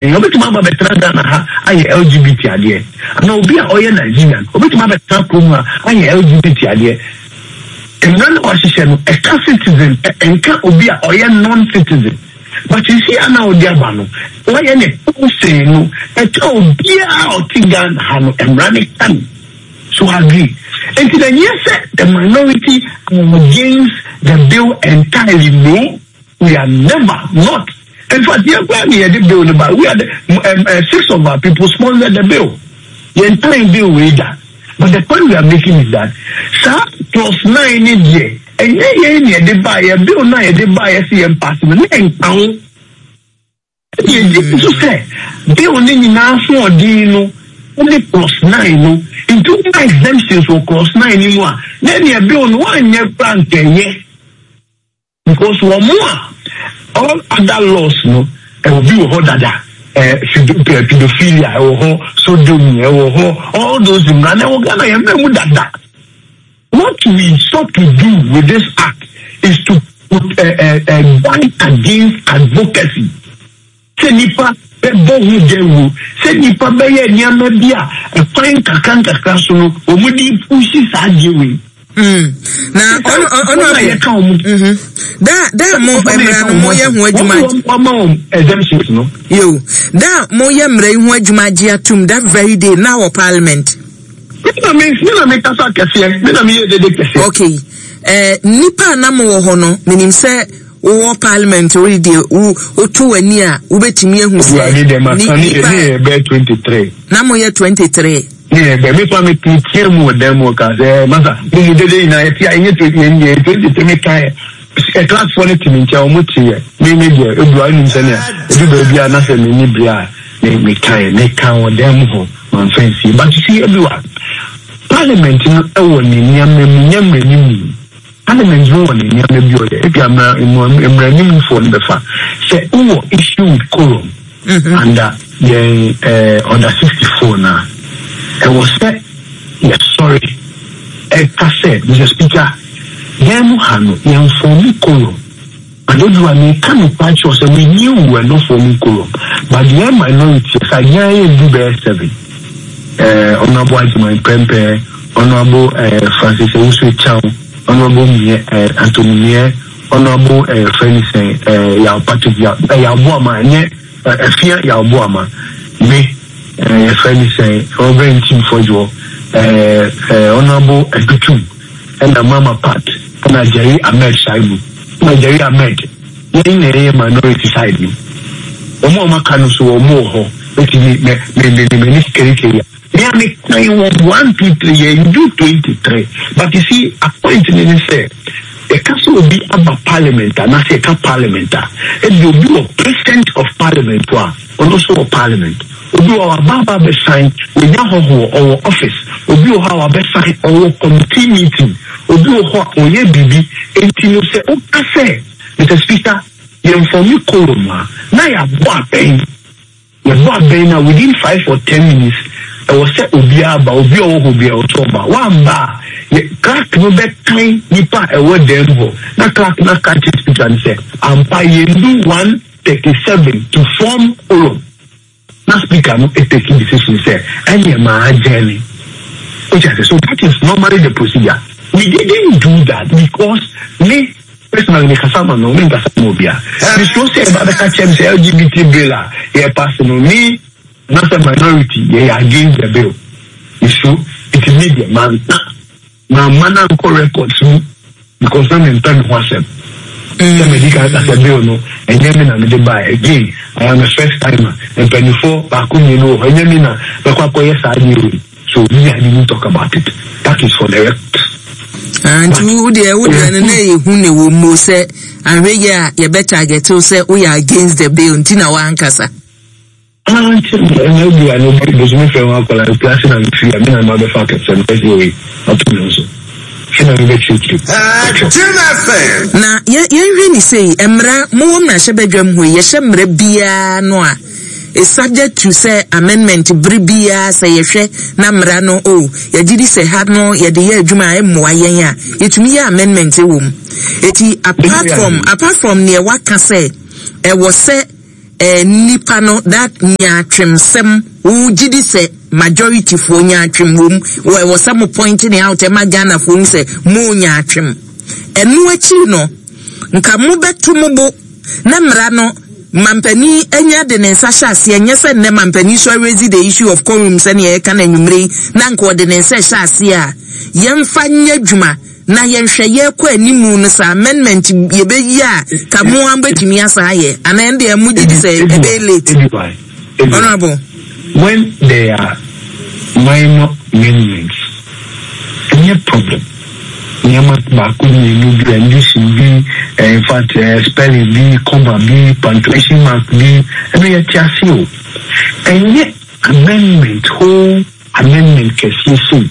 Obetumi aba abɛtena Ghana ha ayɛ LGBT adeɛ. Anaa obi a ɔyɛ Nigerian, obetumi abɛtena kurom ha ayɛ LGBT adeɛ. Mmara no a wɔahyehyɛ no, ɛka citizen pɛ, ɛnka obi a ɔyɛ non-citizen. But seesei a na wode aba no, wɔayɛ no posee no, ɛka obiara a ɔte Ghana ha no, mmara no ka no. So agree. Enti na ɛnyɛ sɛ the minority are against the bill entirely, no. We are never not. In fact, yɛn koraa na yɛde bill no ba. We are the six of our people sponsored the bill. Yɛn tan bill wei da. But the point we are making is that saa clause 9 ne deɛ ɛnyɛ yɛn na yɛde ba yɛ bill na yɛde ba yɛ sɛ yɛn pass no na ɛnka ho. Ɛna yɛgye nso sɛ bill no nyinaa ahoɔden no ne clause 9 no nti woma exemptions wɔ clause 9 no mu a na ɛneɛ bill no woanyɛ koraa nka ɛyɛ. Because wɔn a all other laws no ɛwɔ bi wɔ hɔ dada ɛɛ pedophilia ɛwɔ hɔ sodomy ɛwɔ hɔ all those mmara na ɛwɔ Ghana yɛn mmerɛ mu dada. What we sought to do with this act is to put guard against advocacy. Sɛ nnipa bɛbɔ ho dawuro, sɛ nnipa bɛyɛ nneɛma bi a ɛkwan nkakrankakra so no wɔde repuhyi saa adeɛ wei. Na ɔno ɔno abo yɛka wɔn. Da da mo mmara no mo yɛ ho adwuma. Wɔn wɔn wɔn exemptions no. Yo da mo yɛ mmara yi ho adwuma agye atum that very day na wɔ parliament. Me na me me na me kasa kɛseɛ me na me yɛ dede kɛseɛ. Okay ɛɛ eh, nipa a na mo wɔ hɔ no menim sɛ. Wowɔ parliament wo deɛ wo woto w'ani a wobɛtumi ahu sɛ ne nipa ne yɛ bɛyɛ 23 na moyɛ 23 ne yɛ bɛ mefa me teɛ mu wɔ dan mu ɔka sɛ eh, masa mo mu dede nyinaa yɛte a ɛnyɛ yɛ 23 meka ɛ classfoɔ no te me nkyɛn wɔn te yɛ me me deɛ ebu a enim sɛnea edu baabi a na sɛ m'ani bere a me meka yɛ meka wɔ dan mu hɔ manfa nsie but you see everyone parliament no ɛwɔ ne nneɛma mu nyɛ mmerɛ mu. Parliament no wɔ ne nneɛma bi ɔyɛ ebia mmara mmaranimfoɔ no bɛfa sɛ wowɔ issue with quorum under yɛn eh, order 64 no a ɛwɔ sɛ yɛsɔre ɛka sɛ Mr Speaker yɛn mu ha no yɛn fɔm quorum but ebi wa meka nokware kyerɛ sɛ we knew we were not forming quorum but yɛn minority sɛ yɛn yɛ du bɛyɛ 7 eh, Honorable Agyeman Prempeh, Honorable eh, Francis Owusu Chow, Honorable Mie, eh, Anthony Mie, Honorable eh, yɛfrɛ no sɛn, eh, Yaw Patrick Yaw, eh, Yaw Boama, ɛnyɛ eh, Afia Yaw Boama, me, eh, yɛfrɛ no sɛn, Reverend Ntim Fɔdwoɔ, eh, eh, Honorable Adutum, ɛna Mama Pat, ɛna Jerry Ahmed Shaibu, ɛna Jerry Ahmed, yɛn na yɛyɛ minority side no. Wɔn a wɔaka no so wɔn wɔ hɔ, eti me me me me me m'ani kerikeri a. Me a me kan wɔn 1, 2, 3, yɛn du 23. But you see, a point ne ne sɛ, yɛka sɛ obi aba parliament anaasɛ yɛka parliament a, ebi obi wɔ president of parliament hɔ a, ɔno nso wɔ parliament. Obi wɔ hɔ a waba aba abɛsan, wanya hɔhoɔ, ɔwɔ office. Obi wɔ hɔ a wabɛsan, ɔwɔ committee meeting. Obi wɔ hɔ a ɔyɛ biribi. Enti no sɛ woka sɛ, Mister Speaker, yɛnfɔme quorum a, na yɛabɔ abɛn. Yɛbɔ abɛn no a, within 5 or 10 minutes, ɛwɔ sɛ obiara ba, obi a ɔwɔ hɔ biara ɛwɔ sɛ ɔba. Woamba a, yɛ clerk no bɛkan nnipa a ɛwɔ dan mu hɔ, na clerk no aka akyerɛ speaker no sɛ, ampa yɛndu 137 to form quorum. Na speaker no take decision sɛ, ɛneɛ maa adjourn. Wote ase? So that is normally the procedure. We didn't do that because me personally me kasa ma no, me nkasa ma obia. Mesuro sɛ ɛba bɛka kyerɛ me sɛ LGBT bill a yɛ pass no, me na sɛ minority yɛyɛ against the bill. Mesuro, nti me deɛ manka, mamma no ankɔ records mu because na mempɛ me ho asɛm. Sɛ madi kan ka sɛ bill no, ɛnyɛ me na mede baeɛ. Again, I am a first timer. Mpanimfoɔ baako mmienu wɔ hɔ, ɛnyɛ me na mɛkɔ akɔyɛ saa adeɛ wei. So me, I didn't talk about it. That is for the record. Ah, nti wo deɛ wo deɛ no na ɛyɛ hu na ɛwɔ mu sɛ ahwɛ yɛ a yɛbɛ target wo sɛ woyɛ against the bill nti na wankasa. Ah, nti ɛna ebi a no bosome fɛ ho akɔla nkurase na mefiri a me na ma bɛfa akɛsɛ no ɛsɛ wei ato me nso fi na mebɛkyerɛkyerɛ. Na yɛnhwɛ ne sei, mmara mowɔ mmarahyɛbadwam hɔ yi, yɛhyɛ mmara biara no a is subject to sɛ amendment bere biara sɛ yɛhwɛ na mmara no o oh, yɛgye di sɛ ha no yɛde yɛ adwuma a ɛmmoa yɛn a yɛtumi yɛ amendment wɔ mu. Eti apart from neɛ waka sɛ ɛwɔ sɛ. eh, nnipa no that nyaatwemsɛm wo gye di sɛ majority foɔ nyaatwem wom wɔ ɛwɔ sɛ mo point ne out ɛma Ghana foɔ hu sɛ mo nyaatwem. Ɛno akyiri no nka mo bɛto mo bo na mmara no mampanin anya de ne nsa hyɛ aseɛ nyɛ sɛ nnɛ mampanin so arezi the issue of quorum sɛnea yɛka no anwummere yi na nka ɔde ne nsa ɛhyɛ aseɛ a yɛmfa nyɛ adwuma na yɛnhwɛ yɛkɔ animu no sɛ amendment yɛbɛyi a ka mo a bɛtumi asa ayɛ anaa ɛno deɛ mo gye di sɛ ɛbɛyɛ late. Honorable. When there are minor amendments, ɛnyɛ problem. Nneɛma baako mmienu bi, addition bi, eh, in fact, eh, spelling bi, comma bi, punctuation mark bi, ɛno yɛte ase o. Ɛnyɛ amendment whole amendment kɛseɛ sei.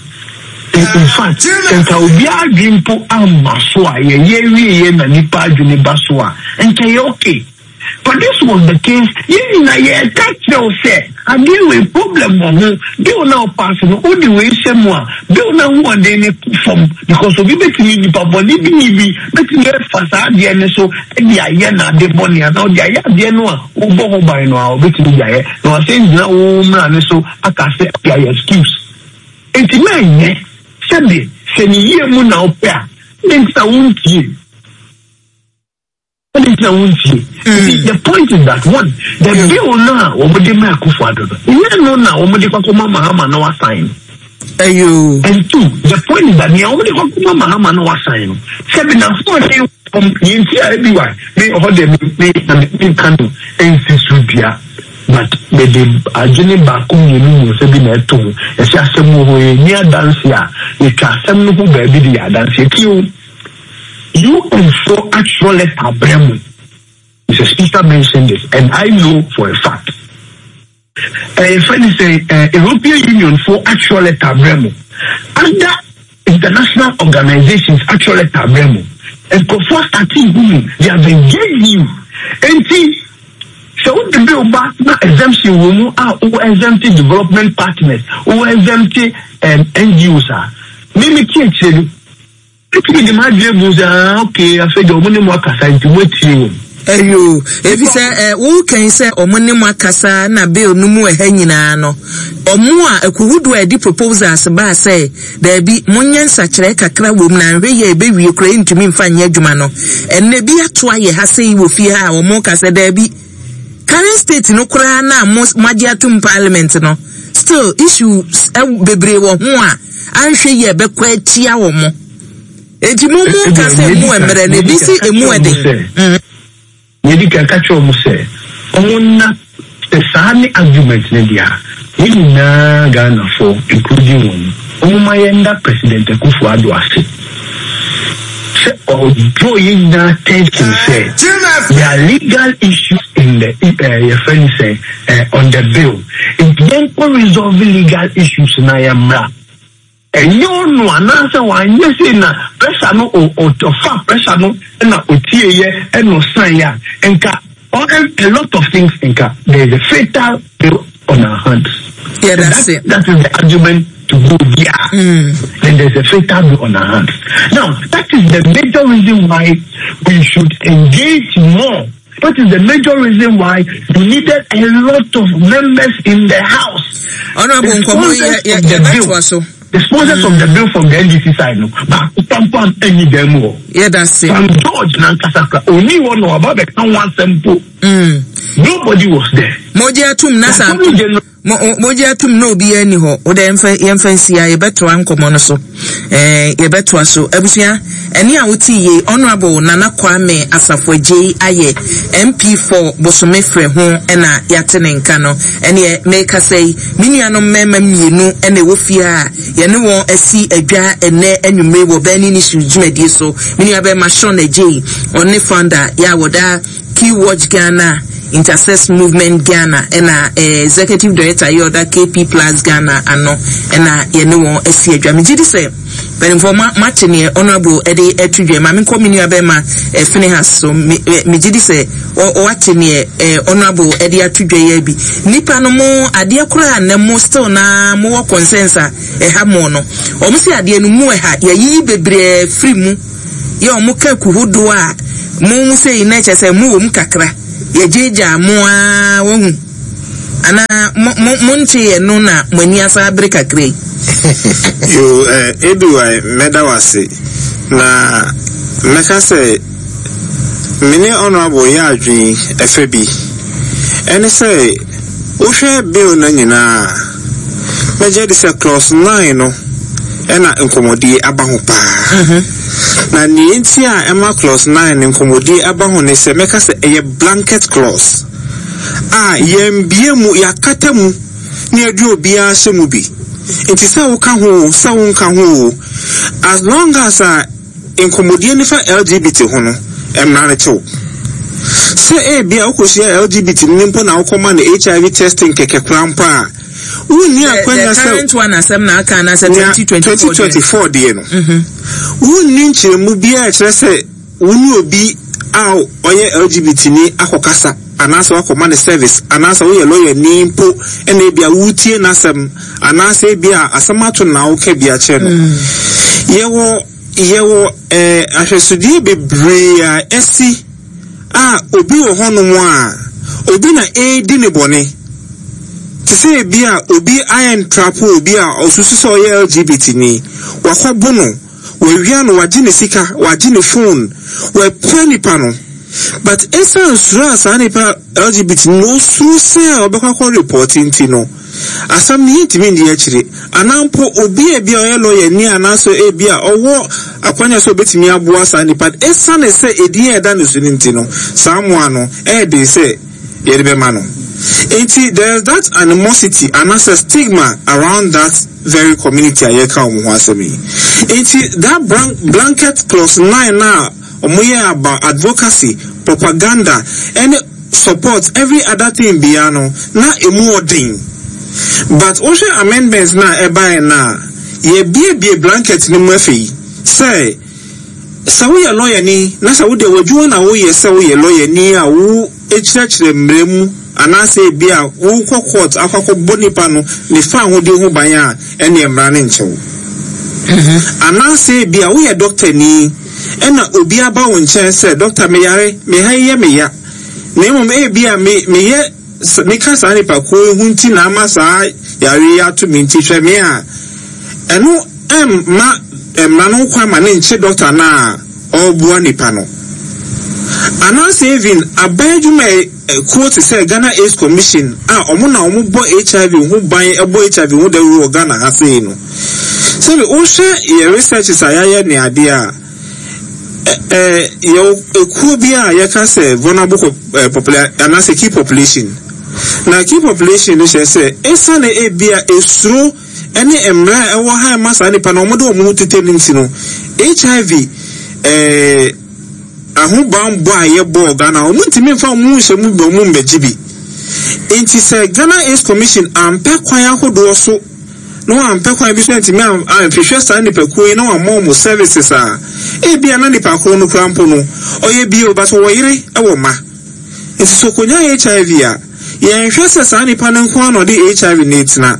In fact, sɛ nka obiara adwene mpo amma so a, yɛyɛ wieɛ na nipa adwene ba so a, nka ɛyɛ okay. But this was the case, yɛn nyinaa yɛreka kyerɛ wo sɛ adeɛ wei problem wɔ ho, bill no a wopaase no wode wei hyɛ mu a, bill no ahoɔden no kɔ fam because obi bɛtumi, nipa bɔne bi ni bi bɛtumi afa saa adeɛ no so de ayɛ n'ade bɔne anaa ɔde ayɛ adeɛ no a wobɔ ho ban no a ɔbɛtumi de ayɛ na wasan gyina wo mmara no so aka sɛ de ayɛ excuse. Enti na ɛnyɛ sɛbe sɛ ne yie mu na wopɛ a, dɛn nti na wontie? Adɛn nti na wontie? Mm. The point is that one, the mm. bill no a wɔde ma Akufo-Addo no, ɛnyɛ no na wɔde kɔkɔma Mahama na wasan no. Ayo. And two, the point is that nea wɔde kɔkɔma Mahama na wasan no, sɛbi na ahoɔden wɔm yɛn ti a ebi wa me ɔhɔ deɛ me me na me nka no nsi so dua but mede adwene baako mmienu mmiɛnsa bi na ɛto ho yɛsɛ asɛm wɔ hɔ yɛ ni adanse a yɛtwa asɛm no ho baabi de yɛ adanse tie o. UN foɔ atwerɛ letter abrɛ mo. Mr. Speaker mentioned this and I know for a fact. Ɛyɛ fɛ ne sɛ eh, European Union foɔ atwerɛ letter abrɛ mo. Other international organizations atwerɛ letter abrɛ mo. Nkurɔfoɔ asate hu mu, they have engaged you. Enti sɛ wode bill ba na exemption wɔ mu a wo exempt development partners, wo exempt um, NGOs a, me me tie akyire no, Metumi de m'adwene bu sɛ, ah, okay, afei deɛ wɔn ne mo akasa nti moatie wɔn. Ɛyoo, efisɛ ɛ wokan sɛ wɔn ne mo akasa na bill no mu ɛha nyinaa no, wɔn a akuhodoɔ a ɛde proposals baa sɛ daabi monyɛ nsakyerɛɛ kakra wom na anhwɛ yie a ɛbɛwie koraa ɛntumi mfa nyɛ adwuma no, ɛnnɛ bi ato ayɛ ha sei wɔ fie ha a wɔn ka sɛ daabi current state no koraa no a mo moagye atom parliament no still issues bebree wɔ ho a anhwɛ yie a ɛbɛkɔ atia wɔn. Enti mo mo ka sɛ emu mmerɛ na ebi si emu ɛden. Nea edi kan, ka kyerɛ wɔn sɛ wɔn nna sɛ saa ne argument no deɛ a, yɛn nyinaa Ghanafoɔ including wɔn no, wɔn ma yɛn nda President Akufo Addo ase sɛ ɔ draw yɛn nyinaa attention sɛ there are legal issues in the eh, yɛfrɛ no sɛ eh, on the bill nti yɛnkɔ resolve legal issues na yɛmmra. Ɛnyɛ ɔno anaasɛ wanyɛ sei na pressure no ɔfa pressure no na ɔtieeɛ ɛna ɔsaeɛ a nka a lot of things nka there is a fatal bill on our hands. Yeah, that's that, it. That is the argument to go there. Then there's a fatal bill on our hands. Now, that is the major reason why we should engage more. That is the major reason why you needed a lot of members in the house. Honorable The Nkomo, sponsors yeah, of the yeah, bill, so. the sponsors of the bill from the NDC side, no, but pam any dem o. Yeah, that's it. Sam George nankasa only one no about the one simple. Nobody was there. Moji atum na sa. Attorney General Mo, mogye atom na obiara nni hɔ. Wo dɛ yɛmfa, yɛmfa nsi ha, yɛbɛtoa nkɔmmɔ no so. Ɛɛ, yɛbɛtoa so. Abusua, ɛne a wote yie, Honourable Nana Kwame Asafo Agyei ayɛ MP for Bosome Frɛ ho ɛna yɛate ne nka no. Ɛneɛ, merekasa yi, me nuanom mmarima mmienu ɛna ɛwɔ fie ha a yɛne wɔn asi adwa ɛnnɛ anwummere wɔ Burning Issues dwumadie so. Me nuabarima Sean Agyei, ɔne founder yɛ a wɔda Key Watch Ghana, Intersex Movement Ghana ɛna eh, Executive Director yɛ ɔda KP Plus Ghana ano ɛna yɛne wɔn asi adwa. Megye di sɛ mpanimfoɔ ma mate neɛ Honourable ɛde ɛto dwa. Ma menkɔ me nua bɛrima eh, Finehas so. Me, eh, megye di sɛ wate neɛ eh, Honourable ɛde ato dwa yi bi. Nipa no mo adeɛ koraa na mo still na mowɔ concerns a ɛha mo no. Wɔn se adeɛ no mu ɛha yɛyiyi bebree firi mu. Yɛ ɔmo ka ku hodoɔ a mo mu sei na kyerɛ sɛ mo wɔ mu kakra. Yɛgyaagyaa mo ara, wahu. Anaa mo, mo, monteeɛ no na mo ani asan abere kakra yi? Yoo, eh, ABY, mɛda wo ase. Na mɛka sɛ me ne Honourable yɛ adwene ɛfɛ bi. Ɛne sɛ, wohwɛ bill no nyinaa a, mɛgye adi sɛ clause 9 no ɛna nkɔmmɔdie aba ho paa. Na nea enti a ɛma clause 9 no nkɔmmɔdie aba ho ne sɛ, mɛka sɛ ɛyɛ blanket clause a yɛmbue mu, yɛakata mu na yɛde obiara ahyɛ mu bi. Nti sɛ woka ho o, sɛ wonka ho o, as long as a nkɔmmɔdie no fa LGBT ho no, mmara no kye wo. Sɛ ebia wokɔhyia LGBT no mpo na wokɔma no HIV testing kɛkɛ koraa mpo a, wonni akwanya sɛ. The current one asɛm na aka anaasɛ 2024 deɛ? 2024 deɛ no. Wonni nkyerɛmu biara a ɛkyerɛ sɛ wo ne obi a ɔyɛ LGBT ni akɔkasa anaasɛ woakɔma no service anaasɛ woyɛ lɔyani mpo na ebia woretie n'asɛm anaasɛ ebia asɛm ato no na woka bi akyerɛ no. Yɛwɔ yɛwɔ eh, ahwɛsodeɛ bebree a asi a obi wɔ hɔnom a obi na ɛredi ne bɔne. Te sɛ ebi a obi ayɛ ntrapo obi a ɔsusu sɛ ɔyɛ LGBT ni, wakɔbo no. Wawia no, wagye ne sika, wagye ne phone, wapira nipa no. But esiane suro a saa nipa LGBT no osuro sɛ ɔbɛkɔ akɔ report nti no, asɛm no yɛntumi nni akyire. Anaa mpo obi a ebia ɔyɛ lawyer ni anaasɛ ebia ɔwɔ akwanya sɛ obetumi aboa saa nipa no, esiane sɛ edin a ɛda ne so no nti no, saa mmoa no ɛyɛ den sɛ yɛde bɛma no. Enti there is that animosity anaasɛ stigma around that very community a yɛreka wɔn ho asɛm yi. Enti that blanket clause 9 no a wɔyɛɛ about advocacy, propaganda ɛne support every other thing biara no na emu ɔden. But wohwɛ amendments no a ɛbaeɛ no a, yɛabiebie blanket no mu afei sɛ sɛ woyɛ lɔyani na sɛ wo deɛ w'adwuma na woyɛ sɛ woyɛ lɔyani a wo kyerɛkyerɛ mmara mu anaasɛ ebia worekɔ court akɔ akɔbɔ nipa no ne fawohodie ho ban a, ɛnneɛ mmara no nkyɛ wo. Anaasɛ ebia woyɛ dɔktani ɛna obi aba wo nkyɛn sɛ, dɔkta meyare, me ha yi yɛ me ya, na mmom ebia me meyɛ meka saa nipa kuo yi ho nti na ama saa yare yi ato me nti hwɛ me a, ɛno ɛmma mmara no ho kwan ma ne nkye dɔkta no a ɔreboa nipa no. Anaasɛ even aban adwumayɛkuo te sɛ Ghana AIDS Commission a wɔn na wɔbɔ HIV ho ban bɔ HIV ho dawuro wɔ Ghana ha sei no, sɛbi wohwɛ yɛ researches a yɛayɛ ne adeɛ a, ɛ yɛwɔ ekuo bi a yɛka sɛ vulnerable population anaasɛ key population. Na key population no kyerɛ sɛ esiane ebia esuro ne mmara a ɛwɔ ha a ɛma saa nnipa no wɔde wɔn ho tetɛ no nti no, HIV eh, ahobanbɔ a yɛbɔɔ Ghana, wɔntumi mfa wɔn ho nhyɛ mu bi, wɔn mmɛgye bi. Nti sɛ Ghana AIDS Commission ampɛ kwan ahodoɔ so na wɔampɛ kwan bi so antumi anhwehwɛ saa nnipakuo yi na wɔammɔ wɔn services a, ebia na nipa korɔ no kura mpo no, ɔyɛ bio, but ɔwɔ yere wɔ mma. Nti sɛ ɔkɔnya HIV a, yɛnhwɛ sɛ saa nipa no nko ara na ɔde HIV no retena,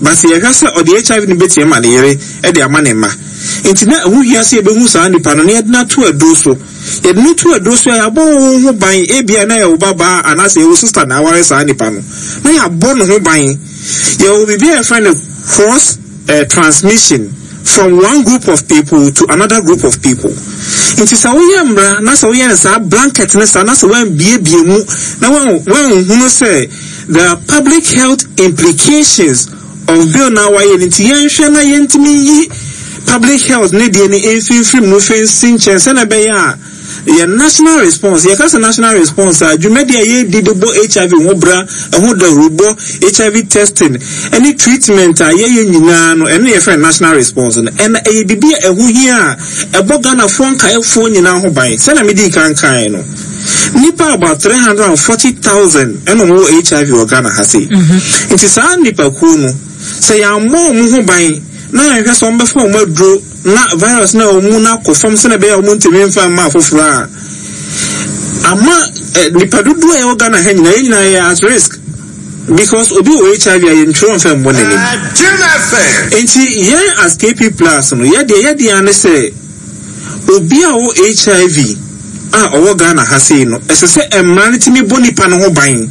but yɛhwɛ sɛ ɔde HIV no bɛtumi ama ne yere de ama ne mma. Nti na ɛho hia sɛ yɛbɛhu saa nipa no na yɛde no ato aduro so. Yɛde no to aduro so a, yɛabɔ wo ho ban, ebia na ɛyɛ wo ba baa anaasɛ ɛyɛ wo sister na aware saa nipa no, na yɛabɔ ne ho ban. Yɛwɔ biribi a yɛfrɛ no cross eh, transmission from one group of people to another group of people. Nti sɛ woyɛ mmara na sɛ woyɛ no saa blanket ne saa na sɛ woambiebie mu na woanhunu sɛ there are public health implications of bill na wayɛ no nti yɛnhwɛ na yɛntumi nyi public health ne deɛ no mfimfiri mu fɛ nsi nkyɛn sɛnea ɛbɛyɛ a Yɛn national response, Yɛka sɛ national response a, dwumadi a yɛredi de bɔ HIV ho bra, ɛho dawurubɔ, HIV testing, ne treatment a yɛyɛ nyinaa no, ɛno na yɛfrɛ no national response no. Ɛna ɛyɛ biribi a ɛho hia a ɛbɔ Ghanafoɔ nkaeɛfoɔ nyinaa ho ban. Sɛnea medii kan kaeɛ no, nnipa about 340,000 ɛna wɔwɔ HIV wɔ Ghana ha sei. Nti saa nnipakuo no, sɛ yɛammɔ wɔn ho ban na yɛanhwɛ sɛ wɔbɛfa wɔn aduro na virus no a ɛwɔ mu no akɔ fam sɛnea ɛbɛyɛ a wɔntumi mfa mma afoforɔ a, ama eh, nipa dodoɔ a ɛwɔ Ghana ha nyinaa, yɛn nyinaa yɛ at risk because obi wɔ HIV a yɛntwerɛ mfa mmɔ n'anim. Nti yɛn as KP Plus no, yɛdeɛ yɛdeɛ ara ne sɛ obi a ɔwɔ HIV a ɔwɔ Ghana ha sei no, ɛsɛ sɛ mmara no tumi bɔ nipa no ho ban.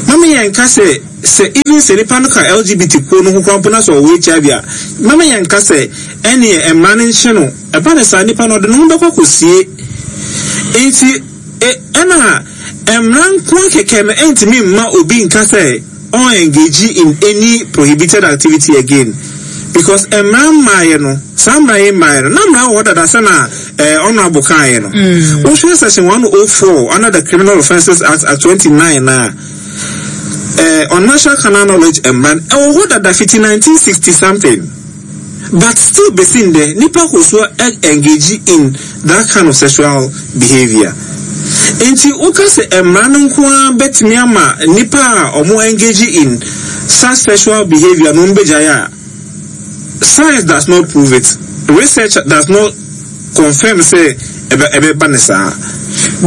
Mama yɛnka sɛ, sɛ even sɛ nipa no ka LGBT kuo no ho koraa mpo na sɛ ɔwɔ HIV a, mama yɛnka sɛ ɛneɛ mmara no nhyɛ no. Ɛba no saa, nipa no ɔde ne ho bɛkɔ akɔsie. Enti, e, ɛna mmara nko ara kɛkɛ no ɛntumi mma obi nka sɛ ɔn engage in any prohibited activity again because mmara mmaeɛ no, saa mmara yi mmaeɛ no, na mmara wɔ hɔ dada sɛ na eh, honorable kaeɛ no. Wohwɛ section 104 under the Criminal Offences Act, Act 29 na eh, unnatural carnal knowledge mmara no ɛwɔ hɔ dada fiti 1960 something. But still besi ndɛ nipa kɔ so engage in that kind of sexual behaviour. Nti woka sɛ mmara no nko ara bɛtumi ama nipa a ɔmo engage in such sexual behaviour no ɔmo bɛgyae a, science does not prove it, research does not confirm sɛ ɛbɛ ɛbɛba no saa.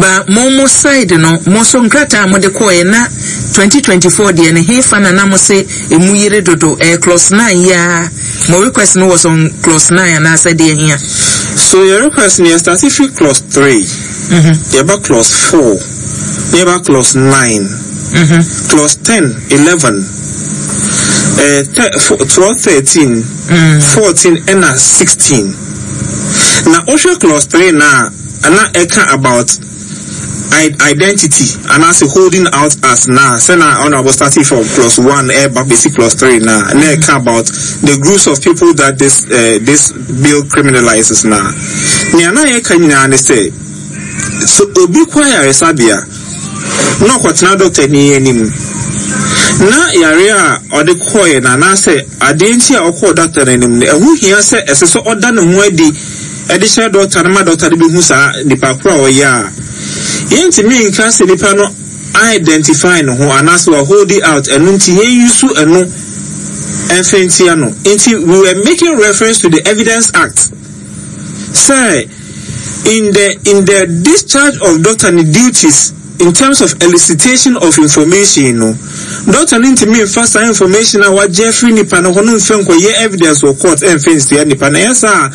Ba mo mo side no mo nso nkrataa a mode kɔɔɛ na 2024 deɛ no hefa na na mo se emu yere dodo ɛyɛ clause 9 yi ara mo request no was on clause 9 anaasɛ deɛ hia? So yɛ request no yɛ starte firi clause 3 yɛba clause 4 na yɛba clause 9 clause 10 11 eh, 12 13 14 ɛna 16. Na wohwɛ clause 3 no a, na ɛka about identity anaasɛ holding out as na sɛ na honorable starting from clause 1 ɛba bɛsi clause 3 na na ɛka about the groups of people that this uh, this bill criminalizes na nea na yɛka nyinaa ne sɛ sɛ obi kɔ ayaresabea na ɔkɔtena dɔktani anim na yare a ɔde kɔeɛ no anaasɛ adeɛ nti a ɔkɔɔ dɔkta no anim no, ɛho hia sɛ ɛsɛ sɛ ɔda ne ho adi de kyerɛ dɔkta no ma dɔkta no bɛhu saa nipa koro a ɔyɛ a. Yɛntumi nka sɛ nipa no identify ne ho anaasɛ wa hold it out, ɛno nti yɛn use ɛno mfa ntia no. Nti we were making reference to the Evidence Act sɛ in the in the discharge of doctor ne duties in terms of elicitation of information no, doctor no ntumi nfa saa information a wagye afiri nipa no hɔ no nfa nkɔyɛ evidence wɔ court ɛnfa nsia nipa no. Ɛyɛ saa a,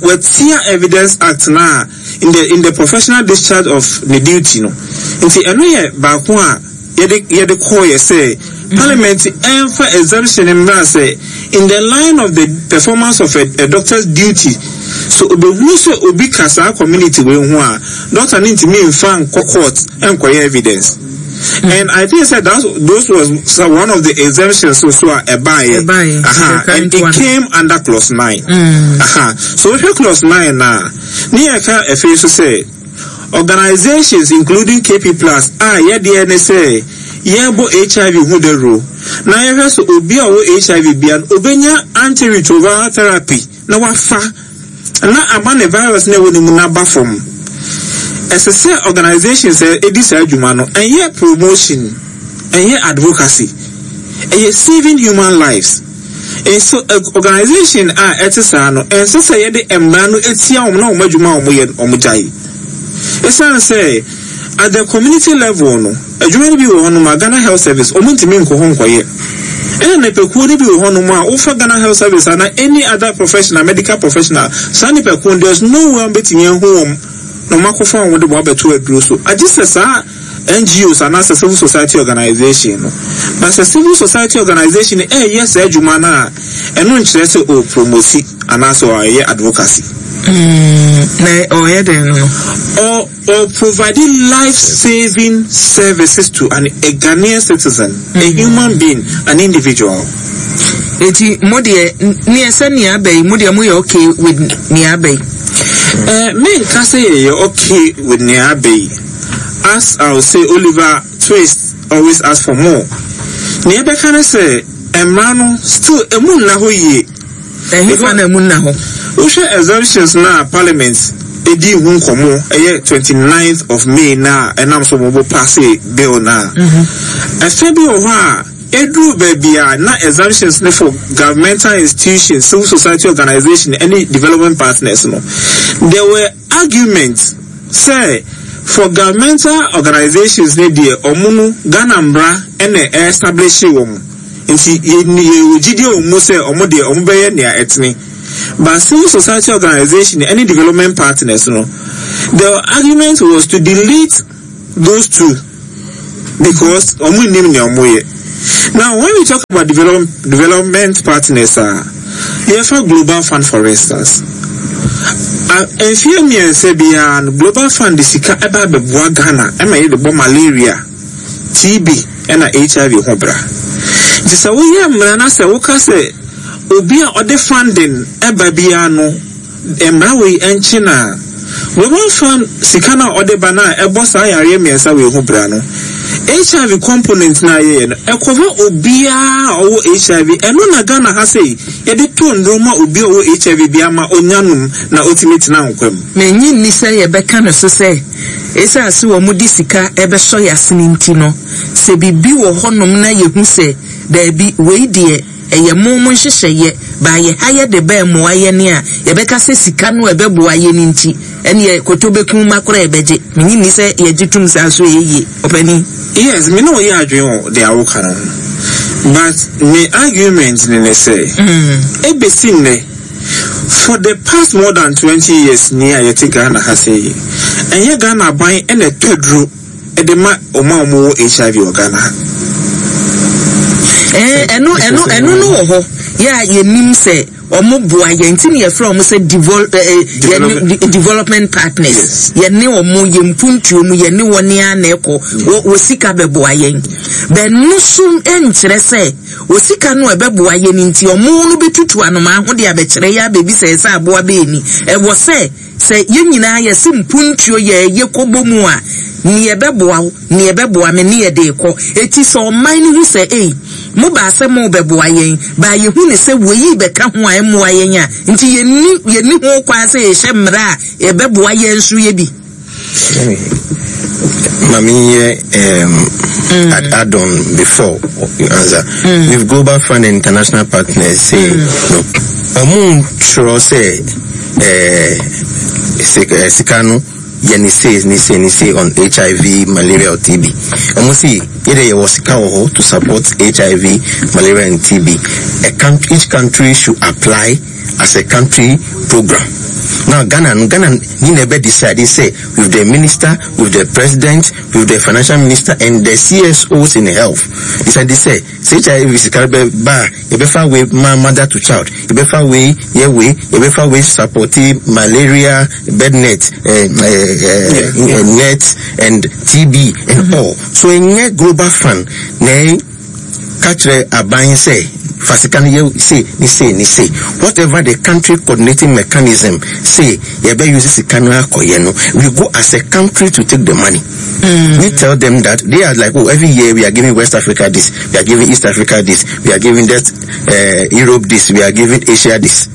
watia Evidence Act no a in the in the professional discharge of ne duty no. Nti ɛno yɛ baako a yɛde yɛde kɔɔyɛ sɛ parliament ɛnfa exemption mmra sɛ in the line of the performance of a, a doctor's duty so obehunu sɛ obi ka saa community wei ho a doctor no ntumi nfa nkɔ court nkɔyɛ evidence. And I think said that those was one of the exemptions so so a ɛbaeɛ. Aha, and it came under clause 9. Aha, so wohwɛ clause 9 na ne yɛka afei so sɛ Organisations including KP Plus a yɛdeɛ ne sɛ yɛbɔ HIV ho dawuro na yɛhwɛ sɛ obi a ɔwɔ HIV bia no ɔbɛnya antiretroviral therapy na wafa na ama ne virus no a ɛwɔ ne mu no aba fam. Ɛsɛ sɛ organisations a ɛdi saa adwuma no ɛnyɛ promotion, ɛnyɛ advocacy, ɛyɛ saving human lives. Nso organisation a ɛte saa no, ɛnsɛ sɛ yɛde mmara no tia wɔn na wɔn adwuma a wɔyɛ no wɔgyae. Esiane sɛ at the community level no, adwuma no bi wɔ hɔnom a Ghana Health Service wɔntumi nkɔ hɔ nkɔyɛ. Ɛna nnipakuo no bi wɔ hɔnom a wofa Ghana Health Service anaa any other professional, medical professional, saa nnipakuo no there's no way a wɔbɛtumi ahu wɔn na wɔakɔfa wɔn de wɔn abɛto aduro so. Agye sɛ saa NGOs anaasɛ civil society organization no. But sɛ civil society organization no ɛreyɛ saa adwuma no a, ɛno nkyerɛ sɛ ɔrepromosi anaasɛ ɔreyɛ advocacy. Mm, na ɔreyɛ dɛn no no? Ɔ ɔ provide life saving services to an a Ghanaian citizen, mm. a human being, an individual. Eti mo deɛ neɛ sɛ nea aba yi mo deɛ mo yɛ okay with nea aba yi? Eh, menka sɛ yɛyɛ okay with nea aba yi. As I will say Oliver Twist always ask for more. Nea ɛbɛka ne sɛ mmara no still emu nna hɔ yie. Ɛhefa na emu nna hɔ? Wohwɛ exemptions no a parliament dii ho nkɔmmɔ ɛyɛ 29th of May no a ɛnam so wɔbɔ paase bill no a, ɛfɛ bi wɔ hɔ a ɛduru baabi a na exemptions no for governmental institutions, civil society organization ɛne development partners no, there were arguments sɛ for governmental organisations no deɛ ɔmo no Ghana mmra na ɛ establish wɔn nti yɛ yɛwɔ gyidie wɔ mu sɛ ɔmo deɛ ɔmo bɛyɛ nea ɛtene. But civil society organization ɛne development partners no, the argument was to delete those two because wɔn nnim nea wɔn yɛ. Now when we talk about develop, development partners a, yɛfa Global Fund for instance. Mfeɛ mmiɛnsa biara no, Global Fund de sika ɛba abɛboa Ghana ɛma yɛde bɔ malaria, TB ɛna HIV ho bra. Nti sɛ woyɛ mmara na sɛ woka sɛ obi a ɔde funding ɛba biara no, Mmara wei nkye no a, Global Fund sika no a ɔde ba no a ɛbɔ saa yareɛ mmiɛnsa wei ho bra no, HIV component no a yɛyɛ no, ɛkɔva obiara a ɔwɔ HIV. Ɛno na Ghana ha sei, yɛde to nnuro ma obi a ɔwɔ HIV biara ma ɔnya nom na ɔtumi tena nkwa mu. Mennye nni sɛ yɛbɛka no so sɛ esiane sɛ wɔde sika rebɛsɔ yɛn asene nti no, sɛ biribi wɔ hɔnom na yɛhu sɛ daabi, wei deɛ, Ɛyɛ mo mo nhyehyɛeɛ, baa yɛ ha yɛ de bɛ mmoa yɛn a, yɛbɛka sɛ sika no a ɛbɛboa yɛn nti, ɛneɛ koto bɛku mma koraa yɛbɛgye. Mennye nni sɛ yɛgye tom saa so ɛyɛ yie, ɔpanin. Yes, me ne wo yɛ adwene wɔ deɛ woka no ho, but me argument no ne sɛ, ɛbɛsi nnɛ, for the past more than 20 years ni a yɛte Ghana ha sei yi, ɛnyɛ Ghana aban na ɛtɔ aduro de ma wɔn a wɔwɔ HIV wɔ Ghana ha. Ɛɛ ɛno ɛno ɛno no wɔ hɔ yɛ a yɛnim sɛ wɔn boa yɛn nti na yɛfrɛ wɔn sɛ devol ɛɛ yɛne development partners yɛne wɔn yɛn mpuntuo mu yɛne wɔn ara na ɛkɔ wɔ wɔ sika bɛboa yɛn bɛno so nkyerɛ sɛ wɔ sika no a ɛbɛboa yɛn nti wɔn no bɛtutu anomaa ho de abɛkyerɛ yɛ abɛbisa yɛ sɛ aboa bɛyɛ ni ɛwɔ sɛ Sɛ yɛn nyinaa yɛse mpuntuo yɛ yɛkɔbɔ mu a, neɛ ɛbɛboa wo, neɛ ɛbɛboa me ne yɛde rekɔ. Eti sɛ ɔman no hu sɛ ei, mobaa sɛ morebɛboa yɛn, baa yɛhu no sɛ wei rebɛka ho a ɛmmoa yɛn a, nti yɛnni, yɛnni ho kwan sɛ yɛhyɛ mmara a ɛbɛboa yɛn nso yɛ bi. Ma menyɛ um, mm. add, add on before you answer. Mm. With Global Fund and international partners say mm. no. Ɔmo ntwerɛ sɛ eh, eh, sika no yɛ ne sei ne sei ne sei on HIV, malaria or TB. Ɔmo si yɛ de yɛwɔ sika wɔ hɔ to support HIV, malaria and TB. A country, each country should apply as a country program. Now Ghana no Ghana ni na ɛbɛ decide sɛ with the minister, with the president, with the financial minister and the CSOs in health decide sɛ sɛ HIV sika bɛ ba a yɛbɛfa wei ma mother to child, yɛbɛfa wei yɛ wei, yɛbɛfa wei support malaria bed net, eh, eh, eh, yeah. net and TB and mm -hmm. all. So ɛnyɛ global fund na Ka kyerɛ aban sɛ fa sika no yɛ sei ne sei ne sei. Whatever the country coordinating mechanism say yɛbɛ use sika no akɔyɛ no, we go as a country to take the money. We tell them that they are like oh every year we are giving West Africa this, we are giving East Africa this, we are giving that uh, Europe this, we are giving Asia this.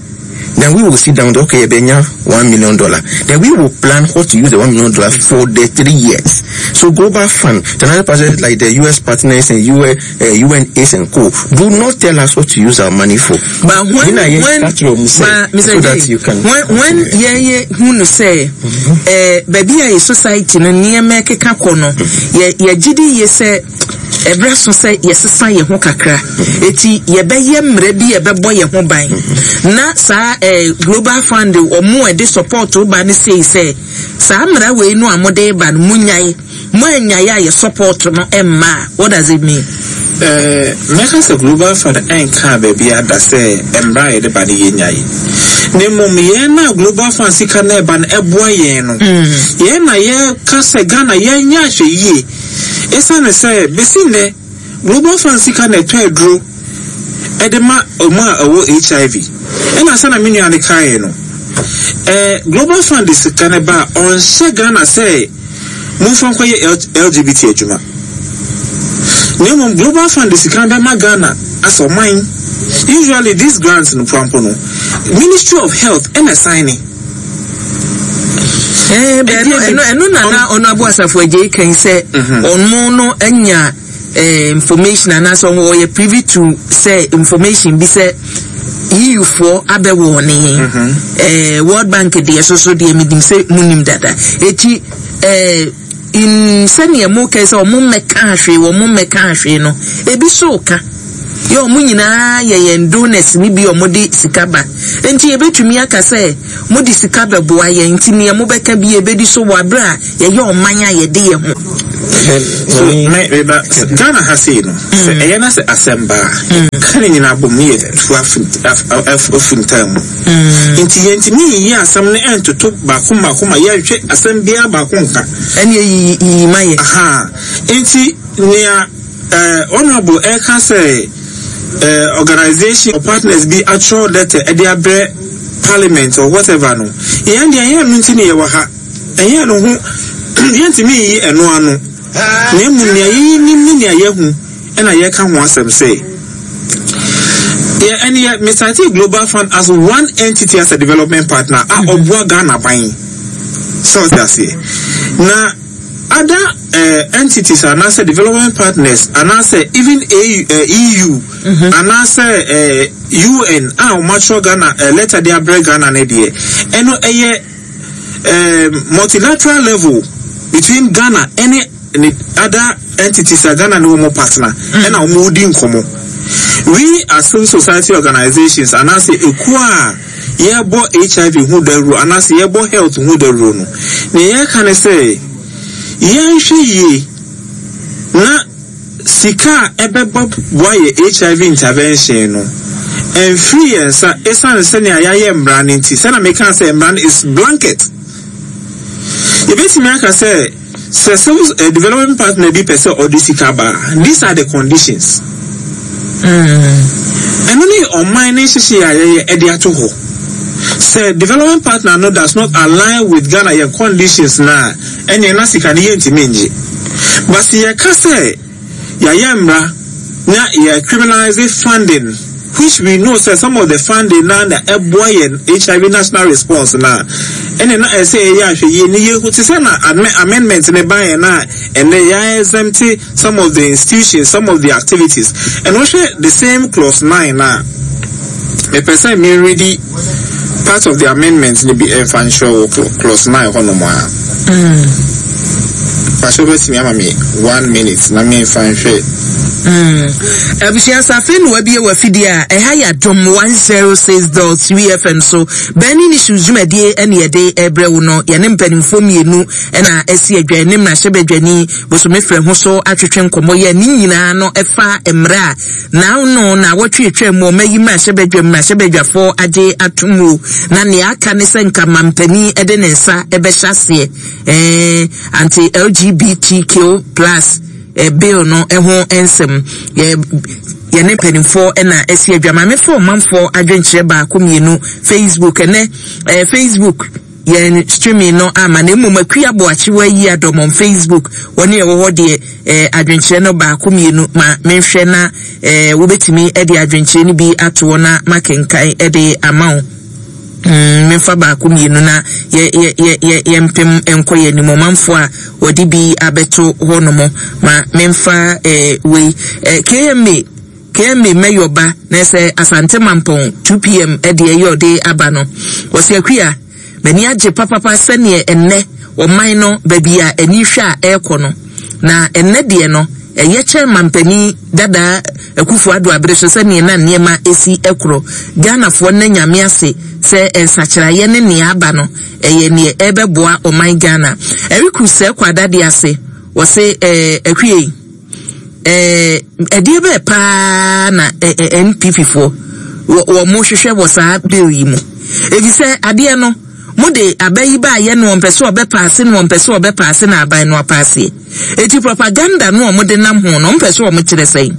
Then we will sit down, okay, yɛbɛnya $1 million. Then we will plan what to use the $1 million for the 3 years. So Global Fund, the other partners like the US partners and UN, UNAIDS and co, do not tell us what to use our money for. But when, but, Mr. So that you can when yɛyɛ hu no sɛ baabi a yɛ society no nneɛma ɛkeka kɔ no, yɛgye di yie sɛ ɛberɛ so sɛ yɛsesa yɛn ho kakra, eti yɛbɛyɛ mmerɛ bi yɛbɛbɔ yɛn ho ban na saa Global Fund ɔmo a ɛde support ba no sei sɛ saa mmara wei no a mode ba no, munyae, mo anyae a yɛ support no ɛmma a, what does it mean? Mɛka sɛ Global Fund ɛnkaa baabi ada sɛ mmara a yɛde ba no yɛnyae. Na mmom yɛn a Global Fund sika no ɛba no ɛboa yɛn no, yɛn na yɛka sɛ Ghana yɛnyɛ ahwɛ yie. Esiane sɛ besi nnɛ Global Fund sika na ɛtɔ aduro de ma wɔn a ɛwɔ HIV, ɛna sɛnea me nua no kaeɛ no, Global Fund de sika no ba a, ɔnhyɛ Ghana sɛ momfa nkɔyɛ LGBT adwuma. Na mmom Global Fund de sika no bɛma Ghana as ɔman. Usually these grants no prampo no, Ministry of Health ɛna sign. Ɛno na na ɔno abo asafo agye kan sɛ ɔno no anya information anaasɛ ɔyɛ privy to sɛ information bi sɛ EU foɔ abɛwɔ ne yɛn World Bank deɛ soso deɛ menim sɛ munim dada, eti in sɛnea mo kɛ sɛ ɔmo mmɛka ahwee, wɔn mmɛka ahwee no, ebi so ka. Yɛ wɔn nyinaa yɛ yɛn donors no bi a wɔde sika ba. Enti yɛbɛtumi aka sɛ mode sika bɛboa yɛn nti neɛ mobɛka bi yɛbɛdi so wɔ aberɛ a yɛyɛ ɔman a yɛde yɛn ho. So me me ba Ghana ha sei no sɛ ɛyɛ na sɛ asɛm ba a ka ne nyinaa bom ne yɛ tu afi ntaa mu nti yɛntumi nyiyi asɛm no ɛntoto baako mmaako ma yɛnhwɛ asɛm biara baako nka ɛne yiyi yiyi ma yɛ. Aha nti nea eh, honorable ɛka sɛ eh, organization or partners bi atwerɛ letter ɛde abrɛ parliament or whatever no yɛn deɛ yɛn no nti ne yɛwɔ ha. Ɛnyɛ ɛno ho, yɛntumi nyi ɛno ano, na mmom nea yɛnim ne nea yɛahu na yɛreka ho asɛm sɛ, yɛ ɛne yɛ me cite Global Fund as one entity as a development partner a ɔboa Ghana ban sɛ ɔte aseɛ na other uh, entities anaasɛ development partners anaasɛ even AU, uh, EU mm -hmm. anaasɛ uh, UN a wɔatwerɛ Ghana uh, letter de abrɛ Ghana no deɛ ɛno ɛyɛ um, multilateral level between Ghana ɛne ne other entities a Ghana ne wɔn partner mm. ɛna wɔn di nkɔmɔ. We as civil society organizations anaasɛ ekuo a yɛbɔ HIV ho dawuro anaasɛ yɛbɔ health ho dawuro no, nea yɛka ne sɛ yɛnhwɛ yie na Sika a ɛbɛba boa yɛ HIV intervention no, ɛmfiri yɛn nsa esiane sɛnea yɛayɛ mmara no nti. Sɛnea mekaa sɛ mmara no is blanket. Yɛbɛtumi aka sɛ, sɛ civil eh, development partner bi pɛ sɛ ɔde sika ba a, these are the conditions. Ɛno ne ɔman no nhyehyɛeɛ a yɛyɛ ɛde ato hɔ. Sɛ development partner no does not align with Ghana yɛn conditions no a, ɛneɛ na sika no yɛntumi ngye. But sɛ yɛka sɛ yɛayɛ mmara na yɛ criminalise funding which we know sɛ some of the funding no ara na ɛboa yɛn HIV national response no a, ɛneɛ na ɛsɛ sɛ yɛyɛ ahwɛyie na yɛhu te sɛ na amendment no baeɛ no a ɛnnɛ yɛ exempt some of the institutions, some of the activities. And wohwɛ the same clause 9 no a, mepɛ sɛ me readi part of the amendment no bi ɛmfa nkyerɛ wo clause 9 hɔnom a. Mm. Pastor bɛtumi ama me one minute na memfa nhwɛ. Mm. Abusua safe no abie wɔ afidie a ɛha yɛ adom 106.3 FM so burning issues dwumadie ɛne yɛde ɛbrɛ wo no yɛne mpanimfoɔ mmienu ɛna ɛsi adwa ne mmarahyɛbadwani bosome frɛ ho so atwetwe nkɔmmɔ yɛ ne nyinaa no ɛfa mmerɛ a Naano naawɔtwe atwam mu ɔma yi mmarahyɛbadwam mmarahyɛbadwafoɔ agye ato mu na nea aka ne sɛ nka mampanin de ne nsa bɛhyɛ aseɛ eh, anti LGBTQ plus eh, bill no ho nsɛm yɛ yɛne mpanimfoɔ na asi adwa maame fo ɔmanfoɔ adwenkyerɛ baako mmienu Facebook ɛnɛ eh, Facebook yɛn streaming no ama na mmom Akua Boakye wayi adɔm on Facebook wɔne ɛwɔ hɔ deɛ eh, adwenkyerɛ no baako mmienu ma menhwɛ na eh, wobɛtumi de adwenkyerɛ no bi ato hɔ na makenkan de ama wo. Memfa baako mmienu na yɛ yɛ yɛ yɛ yɛmpem nkɔ yɛn anim ɔmanfoɔ a wɔde bi abɛto hɔ nom ma memfa eh, wei eh, KMA KMA mɛyɔ ba na ɛsɛ Asante Mampɔn 2pm ɛde ɛyɛ ɔde aba no. Wɔsi Akua, m'ani agye papapa sɛneɛ ɛnnɛ ɔman no baabi a ani hwɛ a ɛrekɔ no. Na ɛnnɛ deɛ no ɛyɛ kyɛn mampanin dadaa Akufo Addo abere so sɛneɛ na nneɛma ɛsi ɛkorɔ. Ghanafoɔ nna Nyame ase sɛ nsakyeraeɛ ne nea aba no ɛyɛ neɛ ɛrebɛboa ɔman Ghana. Eric Sɛɛkɔ Adade ase, wɔse ɛɛ Akua yi. Ɛɛ ɛdeɛ bɛɛ paa na NPP foɔ wɔ mo hwehwɛ wɔ saa bill yi mu. Efisɛ adeɛ no mo de aba yi ba ayɛ no wɔn pɛ sɛ ɔbɛ paase no wɔn pɛ sɛ ɔbɛ paase na aban no apaaseɛ. Eti propaganda no wɔn de nam ho no wɔn pɛ sɛ wɔn kyerɛ sɛn.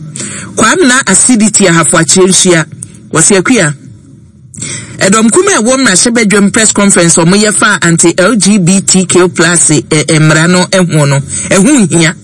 Kwamina Acidity Ahafo Akyerɛ Nsua wɔsi Akua. Ɛdɔm kum a ɛwɔ mmarahyɛbadwam press conference a wɔyɛ faa anti-LGBTQ plus mmara no ho no, ɛho nhia.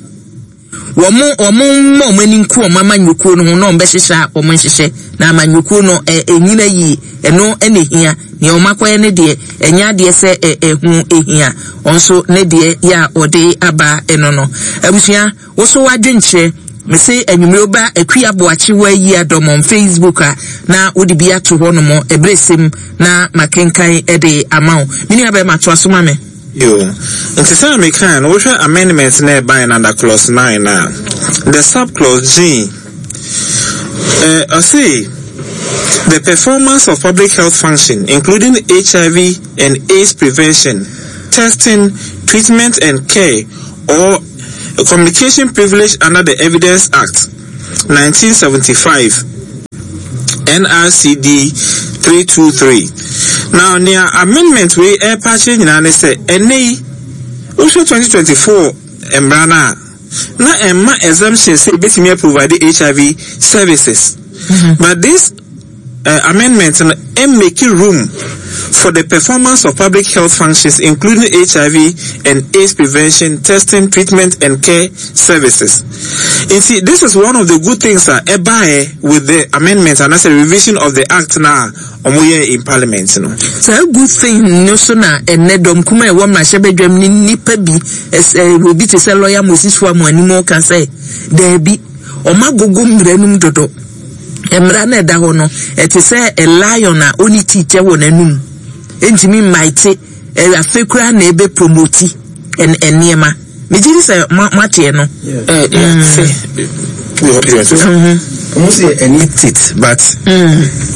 Wɔn wɔn mma wɔn ani nku wɔn amanyɔkuo no ho na wɔn bɛhyehyɛ a wɔn nhyehyɛ na amanyɔkuo no ɛnyina yie ɛno ɛna ehia nea wɔn akɔyɛ ne deɛ ɛnyɛ adeɛ sɛ ɛho ehia wɔn nso ne deɛ yɛ a wɔde aba ɛno no abusua. Wo so w'adwenkyerɛ. Mese anwummere woba Akua Boakye Wayi Adɔm on Facebook a na wode bi ato hɔ nom ɛberɛ sɛm na makenkan de ama wo. Me nua bɛrima toa so ma me. Yo, nti sɛnea mekae no, wohwɛ amendment na ɛbae no under clause 9 a, the sub clause G. Ɔse the performance of public health function including HIV and AIDS prevention, testing, treatment and care or communication privilege under the Evidence Act, 1975, NRCD 323. Now, nea amendment wei ɛrepa akyerɛ nyinaa ne sɛ, ɛnnɛ yi, wohwɛ 2024 mmara no a, na ɛmma exemption sɛ ebetumi aprovide HIV services. But this amendment no mmake room for the performance of public health functions including HIV and AIDS prevention, testing, treatment and care services. Nti this is one of the good things a ɛbaeɛ with the amendment anaasɛ revision of the act no a wɔyɛɛ in parliament no. Saa good thing no so na ɛnnɛ dɔm kuma a ɛwɔ mmarahyɛbadwam ne nnipa bi, obi te sɛ lawyer Moses Foamu anim ka sɛ daabi, wɔagogo mmara no mu dodo. Mmara no a ɛda hɔ no, ɛte sɛ a lion a ɔnni teeth wɔ n'anum. Ɛntumi mmaete. Afei koraa na ɛbɛ promoti nneɛma. Megye di sɛ moateɛ no. Ɔmo sɛ ɛni teeth but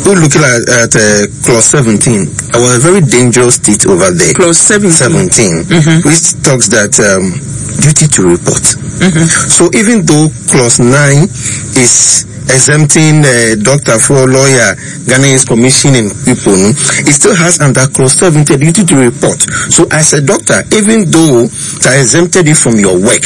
wo looking at clause 17, it was a very dangerous teeth over there. Clause 17. 17, which talks that duty to report. So even though clause 9 is exempting doctor for lawyer, Ghana is commissioning people, no, it still has under clause 70 duty to report. So as a doctor, even though they exempted you from your work,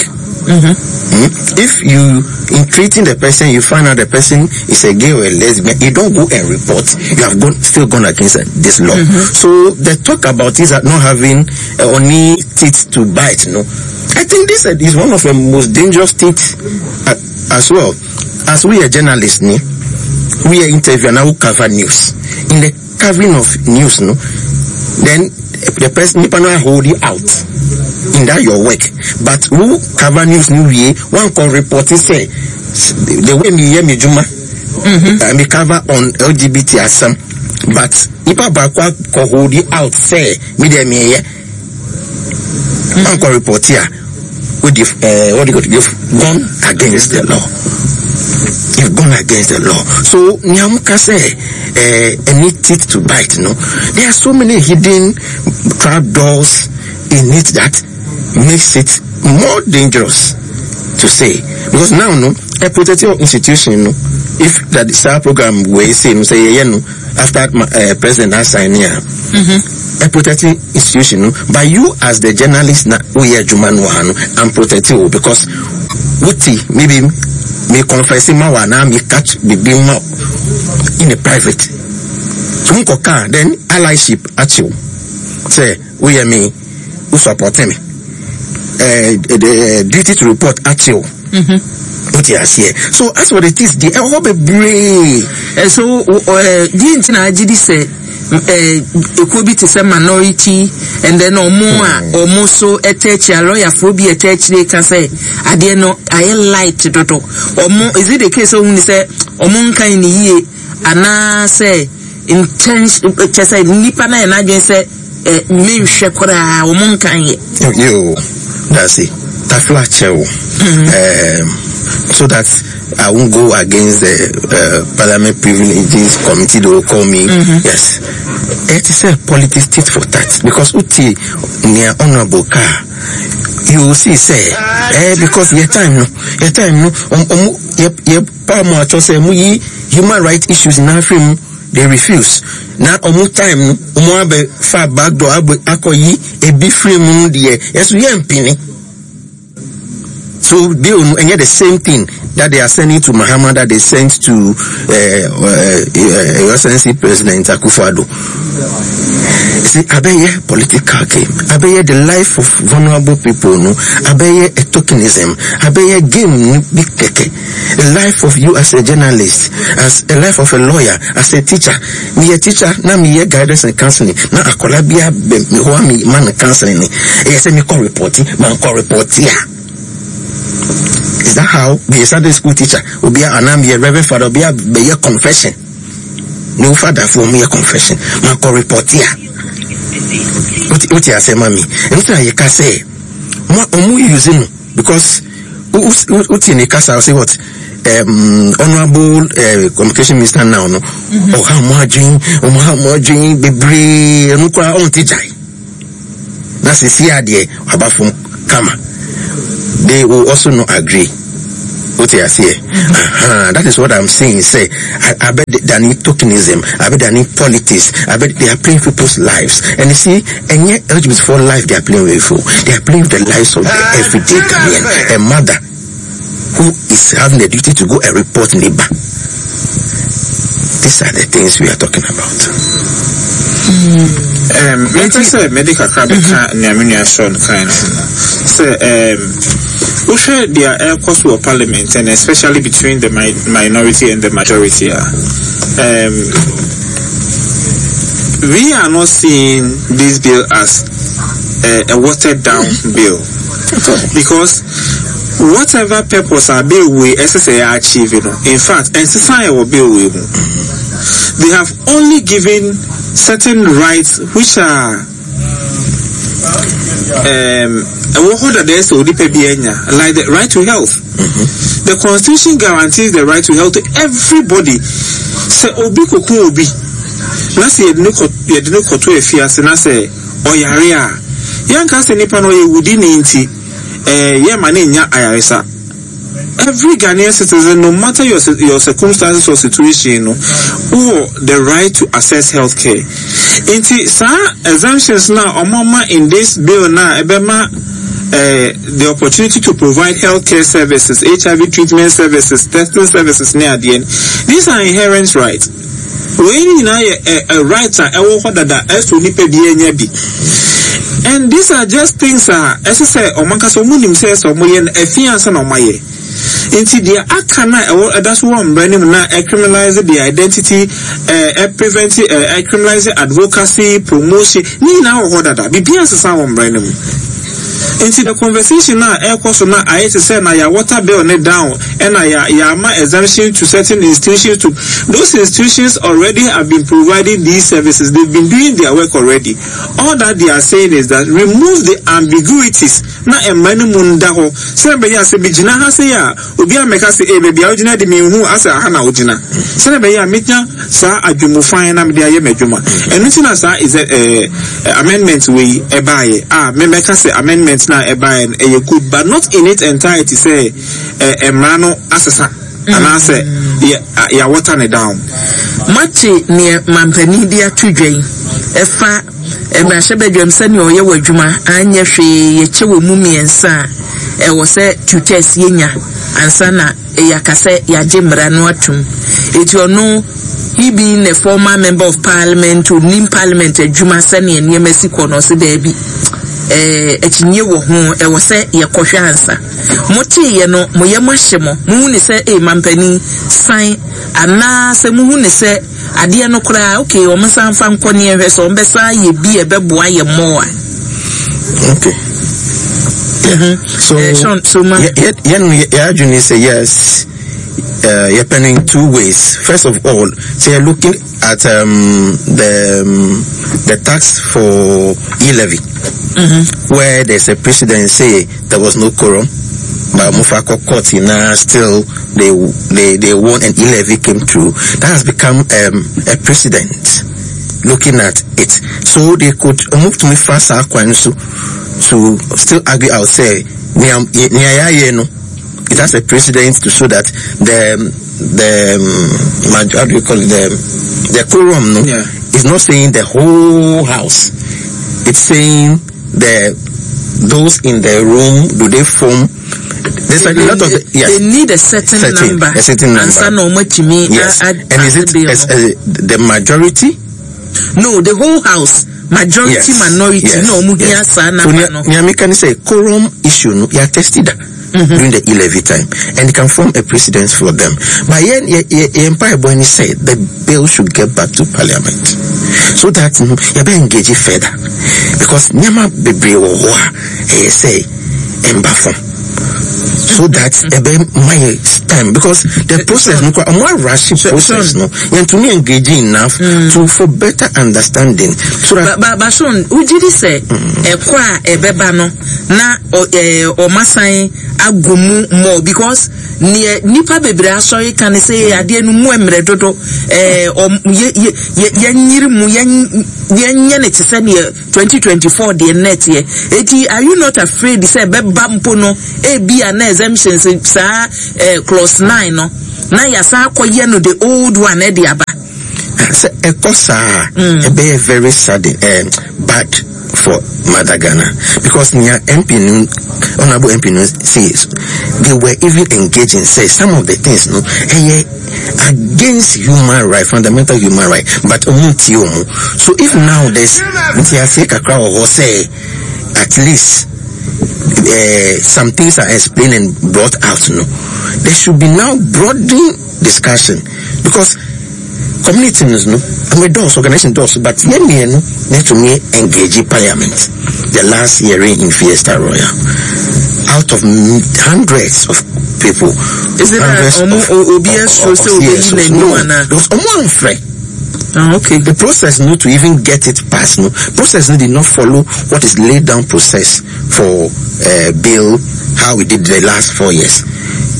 if you, in treating the person, you find out the person is a gay or a lesbian, you don't go and report. You have still gone against this law. So the talk about is not having only teeth to bite, no. I think this is one of the most dangerous teeth as well. As we are journalists, ne, we are interview and now we cover news. In the covering of news, no, then the person nipa no hold you out in that your work. But who cover news new way, one can report it say the way me hear me juma, me cover on LGBT asam. But nipa baako ko hold you out say me dey me hear. One can report here. What you've, what you you've gone against the law. You've gone against the law. So Nyamuka say, any teeth to bite, no. There are so many hidden trap doors in it that makes it more dangerous to say. Because now, no, a protective institution, no, if that SAR program we say, no, say, yeah, no, after president has signed here, a protecting institution, no, but you as the journalist na we are Juman no, I'm protecting you because what maybe me confess ma wa na me catch the beam in the private. So car then allyship at you. Say we are me who support me. The duty to report at you. What you here. So as for the things, the whole be brave. So the internet say ekuo bi te sɛ minority and then ɔmo a ɔmo so ɛtɛ akyi a lɔyafoɔ bi ɛtɛ akyire ka sɛ adeɛ no ayɛ light dodo. Ɔmo is it the case ohun sɛ ɔmo nkan ne yie anaasɛ intention kyɛ sɛ nipa na yɛ n'adwene sɛ menhwɛ koraa ɔmo nkan yɛ. Yo, that's it. Tafla chew. So that I won't go against the Parliament Privileges Committee. They will call me. Yes. It is a politics tit for tat. Because uti near honorable car, you will see say, because your time no, your time no, your power more say mu human rights issues in Africa, they refuse. Now omu time no, omu abe far back door abe akoyi e be free mu die. Yes, we empini. So they will get the same thing that they are sending to Mahama that they sent to Your Excellency President Akufo-Addo. See, abeye political game, abeye the life of vulnerable people, no, abeye a tokenism, abeye game no big keke. The life of you as a journalist, as a life of a lawyer, as a teacher. Me a teacher, na me ye guidance and counseling. Na akola bia be me ho me man counseling. E say me call report, man call report here. Is that how be a Sunday school teacher will be an army, a reverend father, be a be a confession? No father for me a confession. Man call report here. What you say, mommy? And what you can say? Mo omu using because what in the casa say what? Honourable Communication Minister now no, ɔha mo adwen, ɔha mo adwen bebree, ɛno koraa ɔnte gyae. Na sisi adeɛ waba fam kama. They will also not agree. Wote aseɛ? Aha, that is what I'm saying. Sɛ, abɛ dani tokenism, abɛ dani politics, abɛ they are playing people's lives. And you see, ɛnyɛ LGBT for life they are playing with. Oh. They are playing with the lives of the everyday Ghanaian. A mother who is having the duty to go and report neighbor. These are the things we are talking about. Mepɛ sɛ mede kakra bɛka nea me nua Sean kae no ho no sɛ wohwɛ deɛ ɛrekɔ so wɔ parliament and especially between the mi minority and the majority a we are not seeing this bill as a watered down bill because whatever purpose a bill wei ɛsɛ sɛ yɛ achieve no, in fact ɛnsesa yɛ wɔ bill wei mu. They have only given certain rights which are ɛwɔ hɔ dada ɛsɛ onipa bi anya, like the right to health. The constitution guarantees the right to health to everybody. Sɛ obi koko obi na sɛ yɛde ne kɔ yɛde ne kɔto afiase na sɛ ɔyare a, yɛnka sɛ nipa no ɔyɛ wudini nti eh, yɛmma no nnya ayaresa. Every Ghanaian citizen, no matter your, your circumstances or situation no, wowɔ the right to access health care. Nti saa exemptions na ɔmo ama in this bill na ɛbɛma eh, the opportunity to provide health care services, HIV treatment services, testing services ne adeɛ no, these are inherent rights. Wei nyinaa yɛ ɛ ɛ right a ɛwɔ hɔ dada ɛsɛ onipa biara nya bi. And these are just things a ɛsɛ sɛ wɔn ankasa wɔn nim sɛ ɛsɛ wɔn yɛ no ɛfi ansa na wɔn ayɛ. Nti deɛ aka no a ɛwɔ ɛda so wɔ mmara no mu na ɛcriminalize the identity ɛ ɛ prevent ɛ ɛcriminalize advocacy promotion ne nyinaa wɔ hɔ dada. Biribiara nsesa wɔ mmara no mu. Nti the conversation a ɛrekɔ so na ayɛ te sɛ na yɛ water bill ne down ɛna yɛ yɛama exemption to certain institutions to those institutions already have been providing these services, they've been doing their work already. All that they are saying is that remove the ambiguities na mmara no mu nda hɔ sɛnea ɛbɛyɛ a sɛ megyina ha sei a obi ammɛka sɛ ee baabi a wogyina de menhu asɛ aha na wogyina, sɛnea ɛbɛyɛ a menya saa adwemmufan na mede ayɛ m'adwuma. Ɛno nti na saa is eh, amendment wei ɛbaeɛ a memɛka sɛ amendment no a ɛbaeɛ no ɛyɛ good but not in its entirety sɛ eh, mmara no asesa anaasɛ yɛ yɛawɔta ne down. Moate neɛ mampanin de ato dwa yi ɛfa mmarahyɛbadwam sɛnea ɔyɛ wɔ adwuma anyɛ hwee yɛkyɛ wɔ mu mmiɛnsa a ɛwɔ sɛ tutors yɛnya ansa na yɛaka sɛ yɛagye mmara no atom. Eti ɔno he being a former member of parliament onim parliament adwuma sɛnea nneɛma si kɔ no ɔse daabi ɛɛ akyinnye wɔ ho ɛwɔ sɛ yɛkɔhwɛ ansa. Moteeɛ no mo yam ahye mo mohu ne sɛ ee mampanin san anaa sɛ mohu ne sɛ adeɛ no koraa okay wɔn nsan mfa nkɔ ne yɛnhwɛ sɛ wɔn bɛsan ayɛ bi a ɛbɛboa yɛ more a. Okay. Yeah. So, Sean, so ma. Yeah, yeah, yeah, yeah, sɛ yes. Yɛpɛ no in two ways. First of all, so you're looking at the tax for e-levy, where there's a precedent sɛ there was no quorum, but Mufako court now still they won and e-levy came through. That has become a precedent. Looking at it, so they could move to me fast to still argue out sɛ it has a precedent to show that the how do you call it, the quorum no, Yeah. is not saying the whole house. It's saying the those in the room, do they form? There's a lot of yes. They need a certain, Certain, number. a certain number. Ansa na ɔmo atumi Yes. And is it the majority? No, the whole house. Majority, Yes. minority. Yes. No, ɔmo hia Yes. saa So number no. nea meka ne sɛ quorum issue no, yɛ attested that during the e-levy time, and it can form a precedent for them. But yɛn mpaebɔ ni sɛ the bill should get back to parliament so that yɛbɛ engage further, because nneɛma bebree wɔ hɔ a ɛyɛ sɛ ɛmba fam. So that ɛbɛ ma yɛ time because the process no kora ɔmo arahye process no yɛntumi engage enough to for better understanding so that. Ba ba Sean, wogye di sɛ ɛkɔ a ɛbɛba no na ɛɛ ɔmo asan agu mu more because neɛ nipa bebree asɔre ka ne sɛ adeɛ no mu mmerɛ dodo ɛɛ ɔm yɛ yɛ yɛ yɛnyiri mu yɛn yɛnyɛ ne te sɛ neɛ 2024 deɛ nnɛ teɛ. Eti are you not afraid sɛ ɛbɛba mpo no ebi a na exemptions saa clause 9 no na yɛasan akɔyɛ no the old one ɛde aba? Sɛ ɛkɔ saa a, ɛbɛyɛ very sudden, bad for Mother Ghana because nea MP no, honorable MP no says they were even engaging say some of the things no ɛyɛ against human right, fundamental human right, but ɔmo ntie ɔmo. So if now there's ntiaseɛ kakra wɔ hɔ sɛ at least some things are explained and brought out no, there should be now broadened discussion because communities no, I mean, those organization does, but yɛn mmienu need to me engage parliament. The last hearing in Fiesta Royal, out of hundreds of people, Is it that hundreds omo obi esro of sɛ obi yi CSOs, n'anim no, ana? because omo amfrɛ. Ah, okay. The process no to even get it passed, no process no did not follow what is laid down process for bill how we did the last 4 years.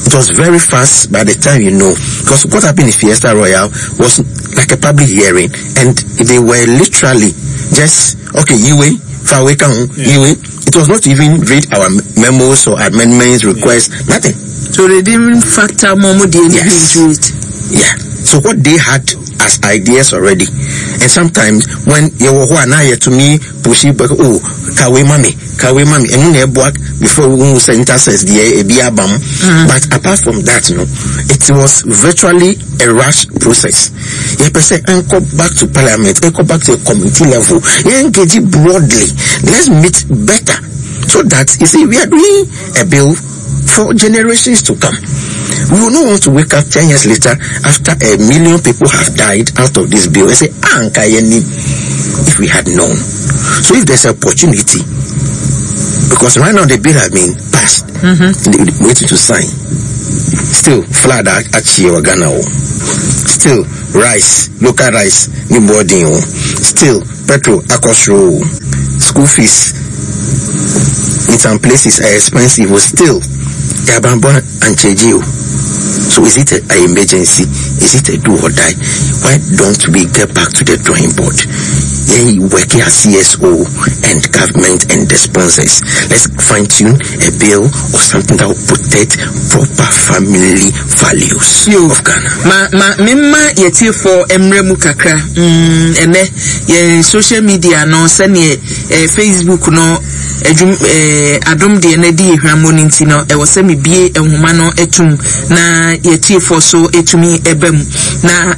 It was very fast by the time you know, because what happened in Fiesta Royal was like a public hearing, and they were literally just, okay, you wait, far away, come, you wait. It was not even read our memos or amendments, requests, nothing. So they didn't factor more money Yes. into it. Yeah. So what they had as ideas already, and sometimes when you were who are now here to me push it back, oh, kawe mami, kawe mami, and when you work before we will say intercess the A B A B A M. But apart from that, no, it was virtually a rush process. You per se and go back to parliament, and go back to the committee level, you engage it broadly. Let's meet better so that you see we are doing a bill for generations to come. We will not want to wake up 10 years later after a million people have died out of this bill and say, Anka yeni, if we had known. So if there's an opportunity, because right now the bill has been passed, they waiting to sign. Still, flood actually Ghana. Still, rice, local rice, new boarding. Still, petrol, akosro, school fees in some places are expensive. Still, Yabambo and Chejio. So is it an emergency? Is it a do or die? Why don't we get back to the drawing board? Yeah, working as CSO and government and the sponsors. Let's fine tune a bill or something that will protect proper family values Yo. of Ghana. Ma, ma, mema yɛtie fɔ mmerɛ mu kakra. Ɛnɛ, yɛn social media no, sɛneɛ, Facebook no, adwum, adom deɛ no adi ehwammɔ no nti no, ɛwɔ sɛ mebie nhoma no atum na yɛtie fɔ so etumi ɛba mu. Na,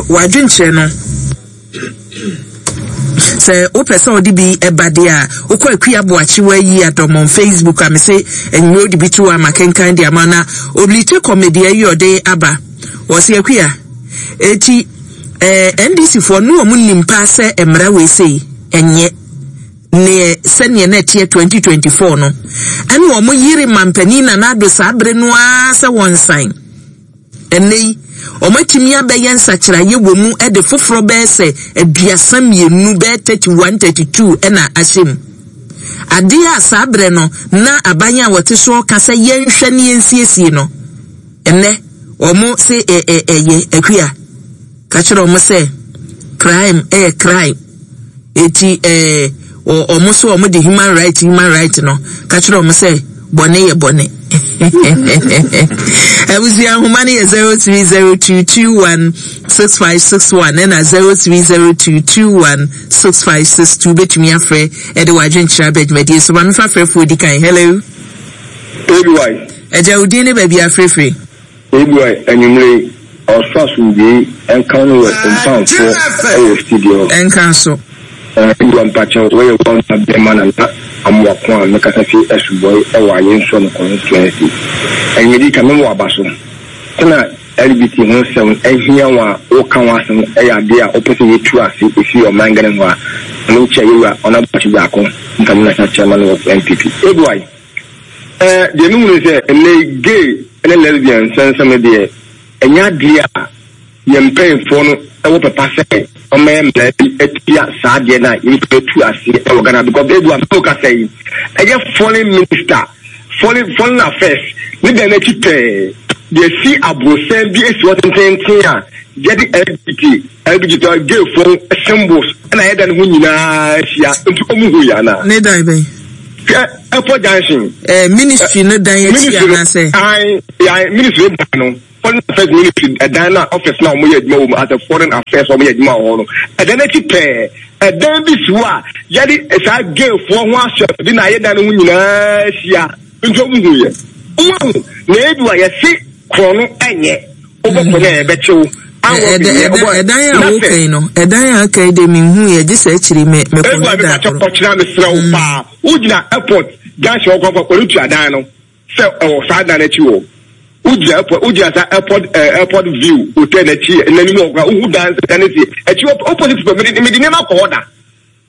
wadwenkyerɛ no, sɛ wopɛ sɛ wode bi ɛba deɛ a, wokɔ Akua Boakye wayi adɔm on Facebook a mese nnuro wode bi to hɔ ama kenkan de ama na Oblite comedy ayi ɔde aba. Wɔse Akua, eti, NDC foɔ no wɔn nim paa sɛ mmara wei sei ɛnyɛ neɛ sɛneɛ na ɛteɛ 2024 no. Ɛne wɔn yere mampanin na n'ado saa bere no ara sɛ wɔn nsan. Ɛnnɛ yi, wɔn atumi abɛyɛ nsakyeraeɛ wɔ mu de foforɔ bɛyɛ sɛ aduasa mmienu, bɛyɛ 31, 32 ɛna ahyɛ mu. Adeɛ a saa berɛ no, na aban a wɔte soɔ ka sɛ yɛnhwɛ ne yɛnsiesie no. Ɛnnɛ, wɔn se ɛyɛ Akua. Ka kyerɛ wɔn sɛ, crime ɛyɛ crime. Eti, wɔn so wɔn de human right, human right no. Ka kyerɛ wɔn sɛ, bɔne yɛ bɔne. Abusua nhoma no yɛ 0302216561 ɛna 0302216562. Betumi afrɛ ɛde w'adwenkyerɛ aba dwumadie so. Maame fa frɛfoɔ di kan. Hello. ABY. Ɛgya wo din ne baabi afrɛfrɛ. ABY anwummere ɔsoro asomdwee nka no wɔ mpamfoɔ ɛwɔ studio. Nka so. ABY mpakyɛw wɔyɛ wɔn na bɛrima na na amoako a mekasa fi asubɔe ɛwɔ ayɛnsuo no constituency. Ɛnyɛdi ka mɛmɔ aba so. Sɛnea LGBT ho nsɛm ahia wɔn a wɔka ho asɛm ɛyɛ adeɛ a wɔpɛ sɛ yɛtu ase efi ɔman Ghana mu a menkyɛ yɛwura ɔnabɔkye baako ntam national chairman of NPP. ABY. Ɛɛ deɛ me hunu sɛ ɛnɛ yi gay ne lesbian nsɛnsɛm no deɛ ɛnyɛ adeɛ a yɛn mpanyinfoɔ no ɛwɔ pɛpa sɛ wɔmɛyɛ mmara bi atia saa adeɛ no a yɛbɛtumi atu aseɛ ɛwɔ Ghana because ebu a mɛmo kasa yi ɛyɛ foreign minister foreign foreign affairs ne dan n'akyi pɛɛ deɛ si abrosɛn bi esi hɔ tententen a yɛde LGBT LGBT gayfoɔ symbols ɛna ayɛ dan ho nyinaa ahyia nti wɔn hu yɛ anaa. Ne dan bɛn. Hwɛ airport junction. Ɛɛ eh, ministry no dan akyi anaasɛ. Ayi ayi ministry dan no foreign affairs ministry ɛdan na office na wɔn yɛ adwuma wɔ mu as a foreign affairs wɔn yɛ adwuma wɔ hɔ no ɛdan akyi pɛɛ ɛdan bi si hɔ a yɛde saa gayfoɔ ho ahyɛ bi na ayɛ dan no ho nyinaa ahyia nti wɔn hu yɛ wɔn ahu na ebi wa yɛsi korɔ no ɛnyɛ wobɔ korɔ no a yɛbɛkyew. Ɛdan a wokan no ɛdan a aka yi de menhu yɛ gye sɛ akyiri me mekɔhwɛ da koro. Ɔkyena mesrɛ wo paa wogyina airport junction hɔ kɔnkɔ ɔretua dan no sɛ ɛwɔ saa dan no akyi hɔ wogyina airport wogyina saa airport airport view hotel n'akyi n'anim hɔ koraa wohu dan sɛ dan no si akyi opposite pɛ mede mede nneɛma kɔ hɔ da.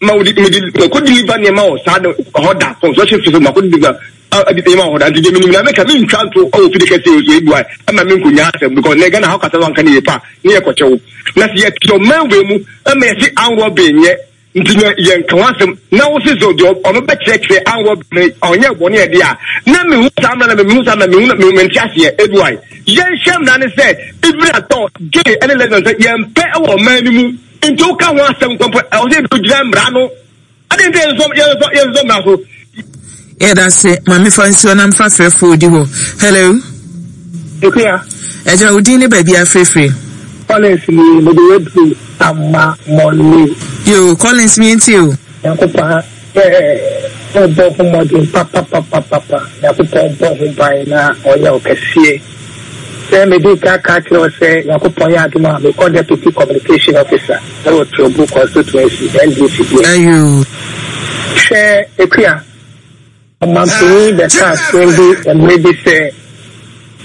Ma wodi mede mako deliver nneɛma wɔ saa hɔ da construction fee mako deliver nneɛma wɔ hɔ da nti deɛ menim na meka mentwa nto wɔ fide kɛseɛ wɔ so ebu a ɛma me nkonya asɛm because na Ghana hɔ kasa wanka ne yie pa ne yɛ kɔkyɛw na sɛ yɛte ɔman wei mu ɛma yɛse anwɔ ben nyɛ nti na yɛnka ho asɛm na wo se sɛ deɛ ɔno bɛkyerɛkyerɛ anwɔ ben ɔnyɛ bɔne ɛde a na mehu saa mmara na mehu saa mmara mehu mente aseɛ ebu a yɛnhyɛ mmara ne sɛ even at all gay ɛne lesbian sɛ yɛmpɛ wɔ ɔman no mu. Nti woka ho asɛm nkɔ mpo ɛwɔ sɛ yɛbɛgyina mmara no. Adɛn nti yɛnsosɔ yɛnsosɔ yɛnsosɔ mmara so? Yɛda ase ma mefa nsuo na mfa frɛfoɔ odi hɔ. Hello. Ekuya. Ɛgyina wo din ne baabi afirifiri. Collins ni mede waduru ama mɔle. Yo Collins mi nti o. Nyankopɔn eh wobɔ ho mmɔden papapapapa Nyankopɔn bɔ ho ban na ɔyɛ wo kɛseɛ. Sɛ medii kan ka akyerɛ wo sɛ Nyankopɔn yɛ adom a mekɔ Deputy Communication Officer wɔ Trobu Constituency, NDC deɛ. Ayoo. Hwɛ Akua, ɔmanpanin bɛkaa asɛm bi mmerɛ bi sɛ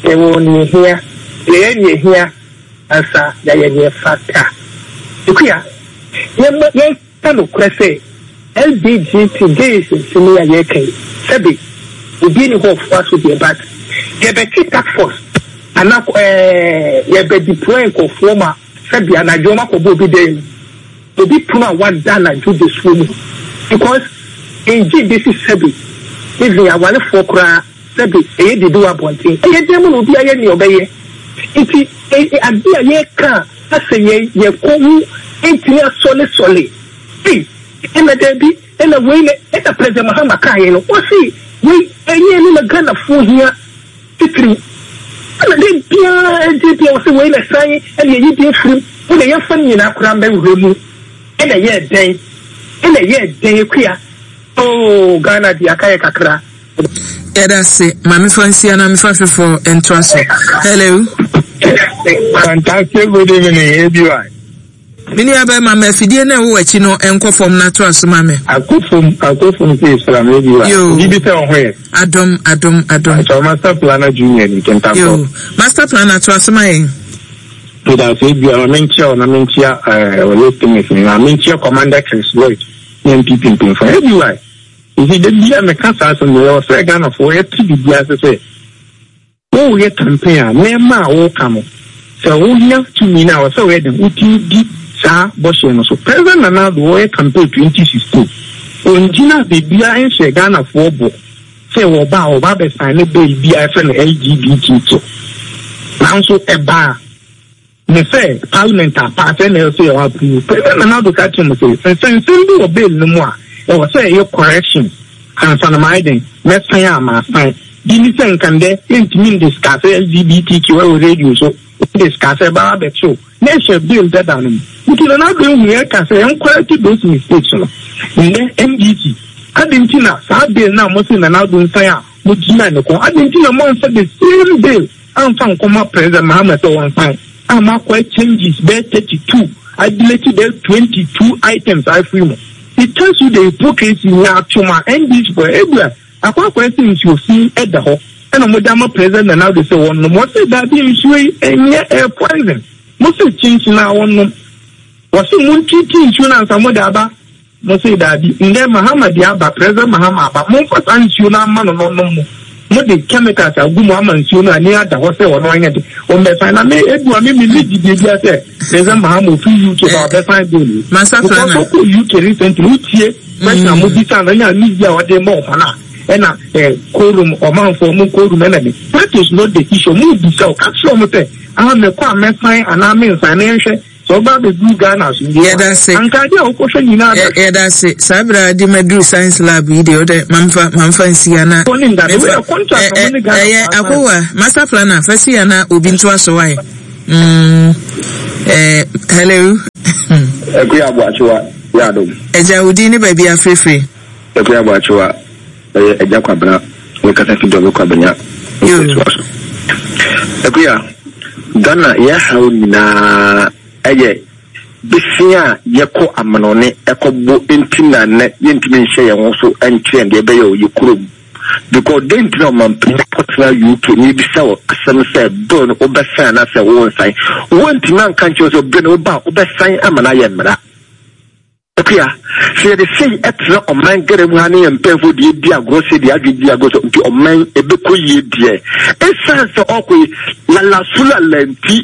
yɛwɔ nea ɛhia, yɛyɛ nea ɛhia ansa yɛayɛ nea ɛfata. Akua, yɛmma yɛn. Ka nokorɛ sɛ, LBGT gays nsɛm yi a yɛreka yi, sɛbe obi nni hɔ ɔfoa so deɛ but yɛbɛte task force anaa ɛɛ yɛbɛ deploy nkorɔfoɔ ma sɛbe anadwo wɔn akɔbɔ obi dan mu, obi pono a wada anadwo dasuo mu because ngye bɛsi sɛbe even awarefoɔ koraa sɛbe ɛyɛ dede wɔ abɔnten, ɛyɛ dan mu na obi ayɛ nea ɔbɛyɛ nti adeɛ a yɛreka a. Asɛ yɛn yɛn kɔn mu ntumi asɔlesɔle ei ɛna daabi ɛna wei na ɛna President Mahama kaeɛ no ɔse wei ɛnyɛ ɛno na Ghanafoɔ hia titiriw ɛna da biara ɛgye bia ɔse wei na san ɛna yɛyi din firim wo na yɛmfa no nyinaa koraa mbɛwura mu ɛna ɛyɛɛ dɛn ɛna ɛyɛɛ dɛn Akua oh Ghana deɛ aka yɛ kakra. Yɛda ase. Ma mefa nsia na mefa foforɔ ntoa so. Hello. Fantastic good evening, ABY. Me nua bɛrima ma afidie no a ɛwɔ w'akyi no nkɔ fam na toa so ma me. Akɔ fam, akɔ fam sɛ esra me ABY. Yo. Obi bi sɛ ɔho yɛ. Adom, adom, adom. Akyɛw Master Planner Junior ni Kentampɔ. Yo. Master Planner toa so ma yɛn. Meda ase ABY ma menkyia wo na menkyia ɛɛ eh, listeners nyinaa. Menkyia Commander Chris Lloyd ne NPP mpanyinfoɔ. ABY. Nti da biara meka saa asɛm no, yɛwɔ sɛ Ghanafoɔ yɛte biribi ase sɛ woreyɛ campaign a, nneɛma a woreka no, sɛ wonya tumi no a, ɛwɔ sɛ woyɛ dɛn? Wotumi di saa bɔhyɛ no so. President Nana Addo ɔreyɛ campaign 2016, ɔngyina baabiara nhyɛ Ghanafoɔ bɔ sɛ wɔba a wɔba abɛsaene bill bi a yɛfrɛ no LGBTQ. Nanso ɛbaa. Ne sɛ parliament a paase na ɛwɔ sɛ yɛ approve. President Nana Addo ka kyerɛ mo sɛ nsɛnsɛm bi wɔ bill no mu a ɛwɔ sɛ ɛyɛ corrections ansa na mayɛ dɛn mɛsan a masan. Bi ne sɛ nka ndɛ yɛntumi ndiscuss LGBTQ ɛwɔ radio so, wodiscuss ɛbɛba abɛkyew na ɛhyɛ bill dada no mu. Nti Nana Addo ehu yɛka sɛ yɛn correct those mistakes no. Ndɛ NDC adɛn nti na saa bill no a mose Nana Addo nsan a mogyina ne kɔn adɛn nti na moamfa the same bill amfa nkɔma President Mahama sɛ wɔnsan amma akɔyɛ changes bɛyɛ 32 adelete bɛyɛ 22 items afiri mu. It tells you the hypocrisy nyaatwom a NDC foɔ ebia akɔ akɔyɛ sɛ nsuo fi da hɔ ɛna wɔde ama President Nana Addo sɛ wɔnnom. Wɔse daabi nsuo yi ɛnyɛ ɛyɛ poison. Mose kyinkyin a wɔnnom. Wɔse montreat nsuo no ansa mode aba. Mose daabi, ndɛ Mahama deɛ aba, President Mahama aba, momfa saa nsuo no ama no na ɔnom no. Mode chemicals agu mu ama nsuo no ani ada hɔ sɛ ɔno anyɛ de ɔmmɛsan na me edu a me me me gyidie bia sɛ President Mahama ofiri UK ba ɔbɛsan bill yi because ɔkɔ UK recently wotie question a mo bisa no ɛna ne yi a ɔde ma ɔmo no a ɛna eh, quorum ɔmanfoɔ mo quorum ɛna ne that is not the issue mo bisa ɔka kyerɛ ɔmo sɛ ah mɛkɔ a mɛsan anaa mensan na yɛnhwɛ Sɛ ɔba abɛduru Ghana asomdwoe a, Yɛda ase. anka adeɛ a wokɔhwɛ nyinaa bɛ. Yɛda ase. Saa berɛ a de maduru science lab yi deɛ, wodɛ mamfa mamfa nsi ha na Wɔn ne ndade. Wei mefa yɛ contract a ɛ wɔn ne Ghana ɛyɛ foɔ asan. akowa master planner fa si ha na obi ntoa so wae. Mm, eh, hello. Akuya Aboakyewa yɛ adom. Agya, wo din ne baabi afirifiri? Akuya Aboakyewa ɛyɛ Agya Kwabena me kasa fi Dɔme Kwabenya nketewa so. Akuya, Ghana yɛ haw nyinaa ɛyɛ besia a yɛkɔ amanɔne ɛkɔ bɔ nti na nnɛ yɛntumi nhyɛ yɛn ho so nkyerɛ deɛ ɛbɛyɛ wɔ yɛ kurom. Because dɛn nti na ɔmanpanyin akɔtena UK na yɛbisa wɔ asɛm sɛ bill no wobɛsan anaasɛ wonsan. Wontumi anka nkyerɛ sɛ bill no woba a wobɛsan ama no ayɛ mmara. Akua, sɛ yɛde sei tena ɔman Ghana mu ha ne yɛn mpanyinfoɔ deɛ di agorɔ sei deɛ adwene di agorɔ sɛ nti ɔman ɛbɛkɔ yie deɛ ɛsiane sɛ ɔkɔ yi lalaso lala nti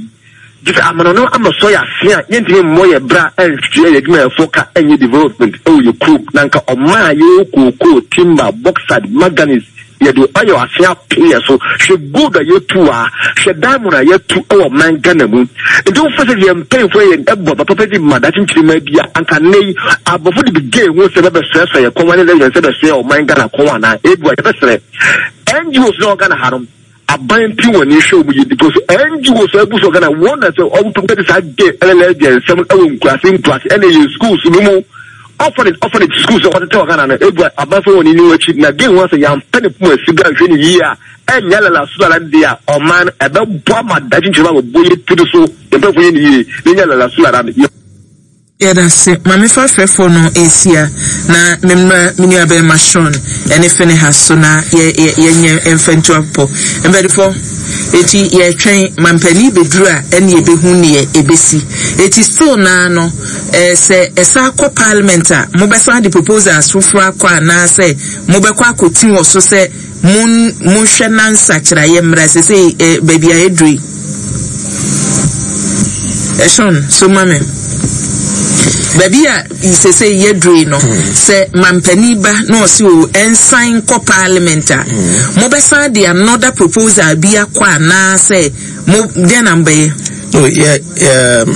gye sɛ amano ama sɔ yɛ ase a yɛntumi mmɔ yɛ bra ɛnhwɛ yɛ adwumayɛfoɔ ka ɛnyɛ development ɛwɔ yɛ kurom na nka ɔman a yɛwɔ kookoo, timber, bauxite, manganese Yɛde oil ase ato yɛ so. Hwɛ gold a yɛatu wɔ ha. Hwɛ diamond a yɛatu wɔ ɔman Ghana mu. Nti wofa sɛ yɛn mpanyinfoɔ yɛ ɛbɔ aba papa di ma daakye nkyirimma bi a, anka nnɛ yi aborɔfo de bi gay ho sɛ bɛbɛsoɛsoɛ yɛn kɔn ne lesbian sɛ bɛsoɛ ɔman Ghana kɔn anaa? Ebua yɛbɛsrɛ NGOs na wɔ Ghana ha no aban nti wɔn ani hwɛ wɔn yie because NGOs a abu so wɔ Ghana wɔn na sɛ wɔn pɛ de saa gay ɛne lesbian nsɛm ɛwɔ nkuraase nkuraase ɛne yɛn schools no mu Orphanage orphanage schools a wɔtetɛ wɔ Ghana no ebu abanfo wɔn ani akyi na gay ho asɛ yɛampɛ ne poma si bra nhwɛ ne yie a ɛnyɛ lala so lala deɛ a ɔman no ɛbɛbɔ ama dakye nkyerɛma bɛbɔ yɛ tiri so yɛn mpanyinfoɔ yɛ ne yie na ɛnyɛ lala so lala no. Yɛdase. Ma mefa frɛfoɔ no nsia na memmra me nua bɛrima Sean ne Phinehas so na yɛ yɛ yɛnyɛ mfa ntu apopɔ. Mpanyinfoɔ, eti yɛretwɛn mampanin bɛduru a ɛne yɛbɛhu neɛ ɛbɛsi. Eti still naa no Eh, sɛ ɛsan kɔ parliament a, mobɛsan de proposals foforɔ akɔ anaasɛ mobɛkɔ akɔti wɔ so sɛ mon, monhwɛ na nsakyeraeɛ mmra sesei eh, baabi a ɛduru yi? Eh, Sean, so ma me. Baabi a sesei yɛduru yi no, hmm. sɛ mampanin ba na ɔse o, ɛnsan kɔ parliament a, hmm. mobɛsan de another proposal bi akɔ anaasɛ mo, dɛn na mobɛyɛ? Oh, yeah, um,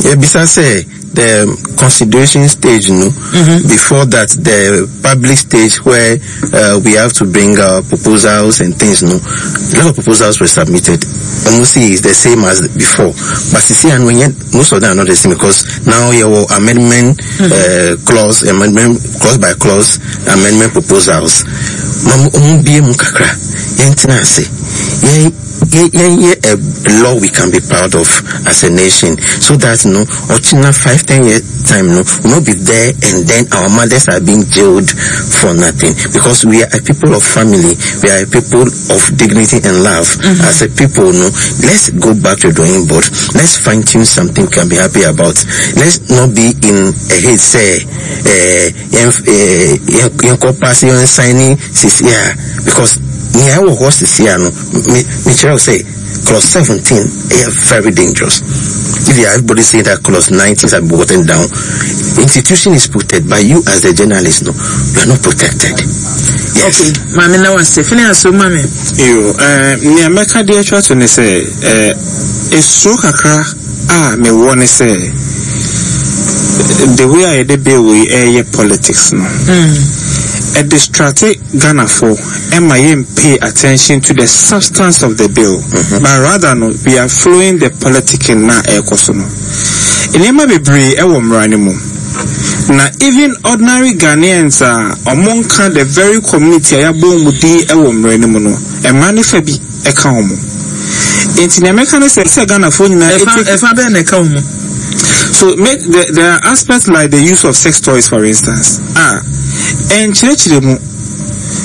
yɛbisa sɛ the consideration stage no mm-hmm. before that the public stage where uh, we have to bring our proposals and things no a lot of proposals were submitted almost is the same as before but you see and when yet, most of them are not the same because now you have amendment mm-hmm. uh, clause amendment clause by clause amendment proposals ɔmo bie mu kakra yɛn ase yɛn yɛnyɛ a law we can be proud of as a nation so that no ɔkyena 5 10 year time no we will not be there and then our mothers are being jailed for nothing because we are a people of family we are a people of dignity and love mm-hmm. as a people no let's go back to the drawing board let's fine tune something we can be happy about let's not be in a hate say eh yɛnkɔ pass yɛn sign sisi a because nea ɛwɔ hɔ sisi a no me mekyerɛ wo sɛ clause 17 ɛyɛ very dangerous if you everybody saying that clause 19 has been watered down institution is protected by you as the journalist no you are not protected yes okay maame na wase fene aso maame yo eh nea mɛka de atwa to ne sɛ eh esuro kakra a mewɔ ne sɛ the way a yɛde bill yi ɛyɛ politics no ɛdistracte Ghanafoɔ ɛma yɛn pay attention to the substance of the bill mm-hmm. but rather no we are following the politicking na ɛrekɔ so no nneɛma bebree ɛwɔ mmara no mu na even ordinary Ghanaians a ɔmo nka the very community a yɛabɔ wɔn din ɛwɔ mmara no mu no mmara no fa bi ɛka wɔn nti nea mɛka ne sɛ sɛ Ghanafoɔ nyinaa ɛfa ɛfa bɛn na ɛka wɔn. So make the, there are aspects like the use of sex toys for instance a ɛnkyerɛkyerɛ mu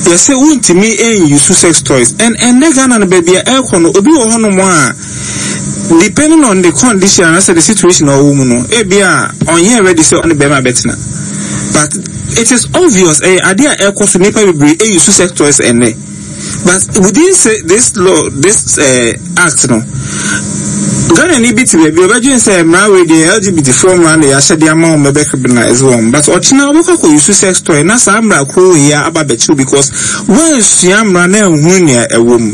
yɛsɛ wontumi nuse sex toys and ɛnɛ Ghana no baabi a ɛrekɔ no obi wɔ hɔnom a depending on the condition anaasɛ the situation a ɔwɔ mu no ebi a ɔnyɛ ready sɛ ɔne bɛrima bɛtena but it is obvious ɛyɛ adeɛ a ɛrekɔ so nnipa bebree ɛuse sex toys ɛnɛ. But within say this law, this uh, act no, Ghana ni bi te baabi ɔbɛdwen sɛ mmara wei deɛ LGBT foɔ mmara na yɛahyɛ de ama wɔn ɛbɛ criminalize wɔn but ɔkyena ɔbɛkɔ akɔ use sex toy na saa mmara koro wei aba bɛkyew because wɔansua mmara na anhunu nea ɛwɔ mu.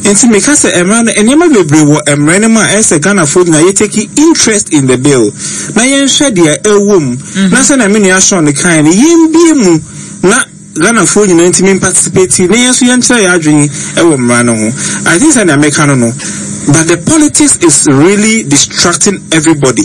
Nti meka sɛ mmara no nneɛma bebree wɔ mmara no mu a ɛyɛ sɛ Ghanafoɔ nyinaa yɛ take interest in the bill na yɛnhwɛ deɛ ɛwɔ mu na sɛnea me nua Sean kae no yɛmbie mu na Ghanafoɔ nyinaa ntumi mparticipate na yɛn nso yɛnkyerɛ yɛn adwene wɔ mmara no ho. I think sɛ nea meka no no, but the politics is really distracting everybody.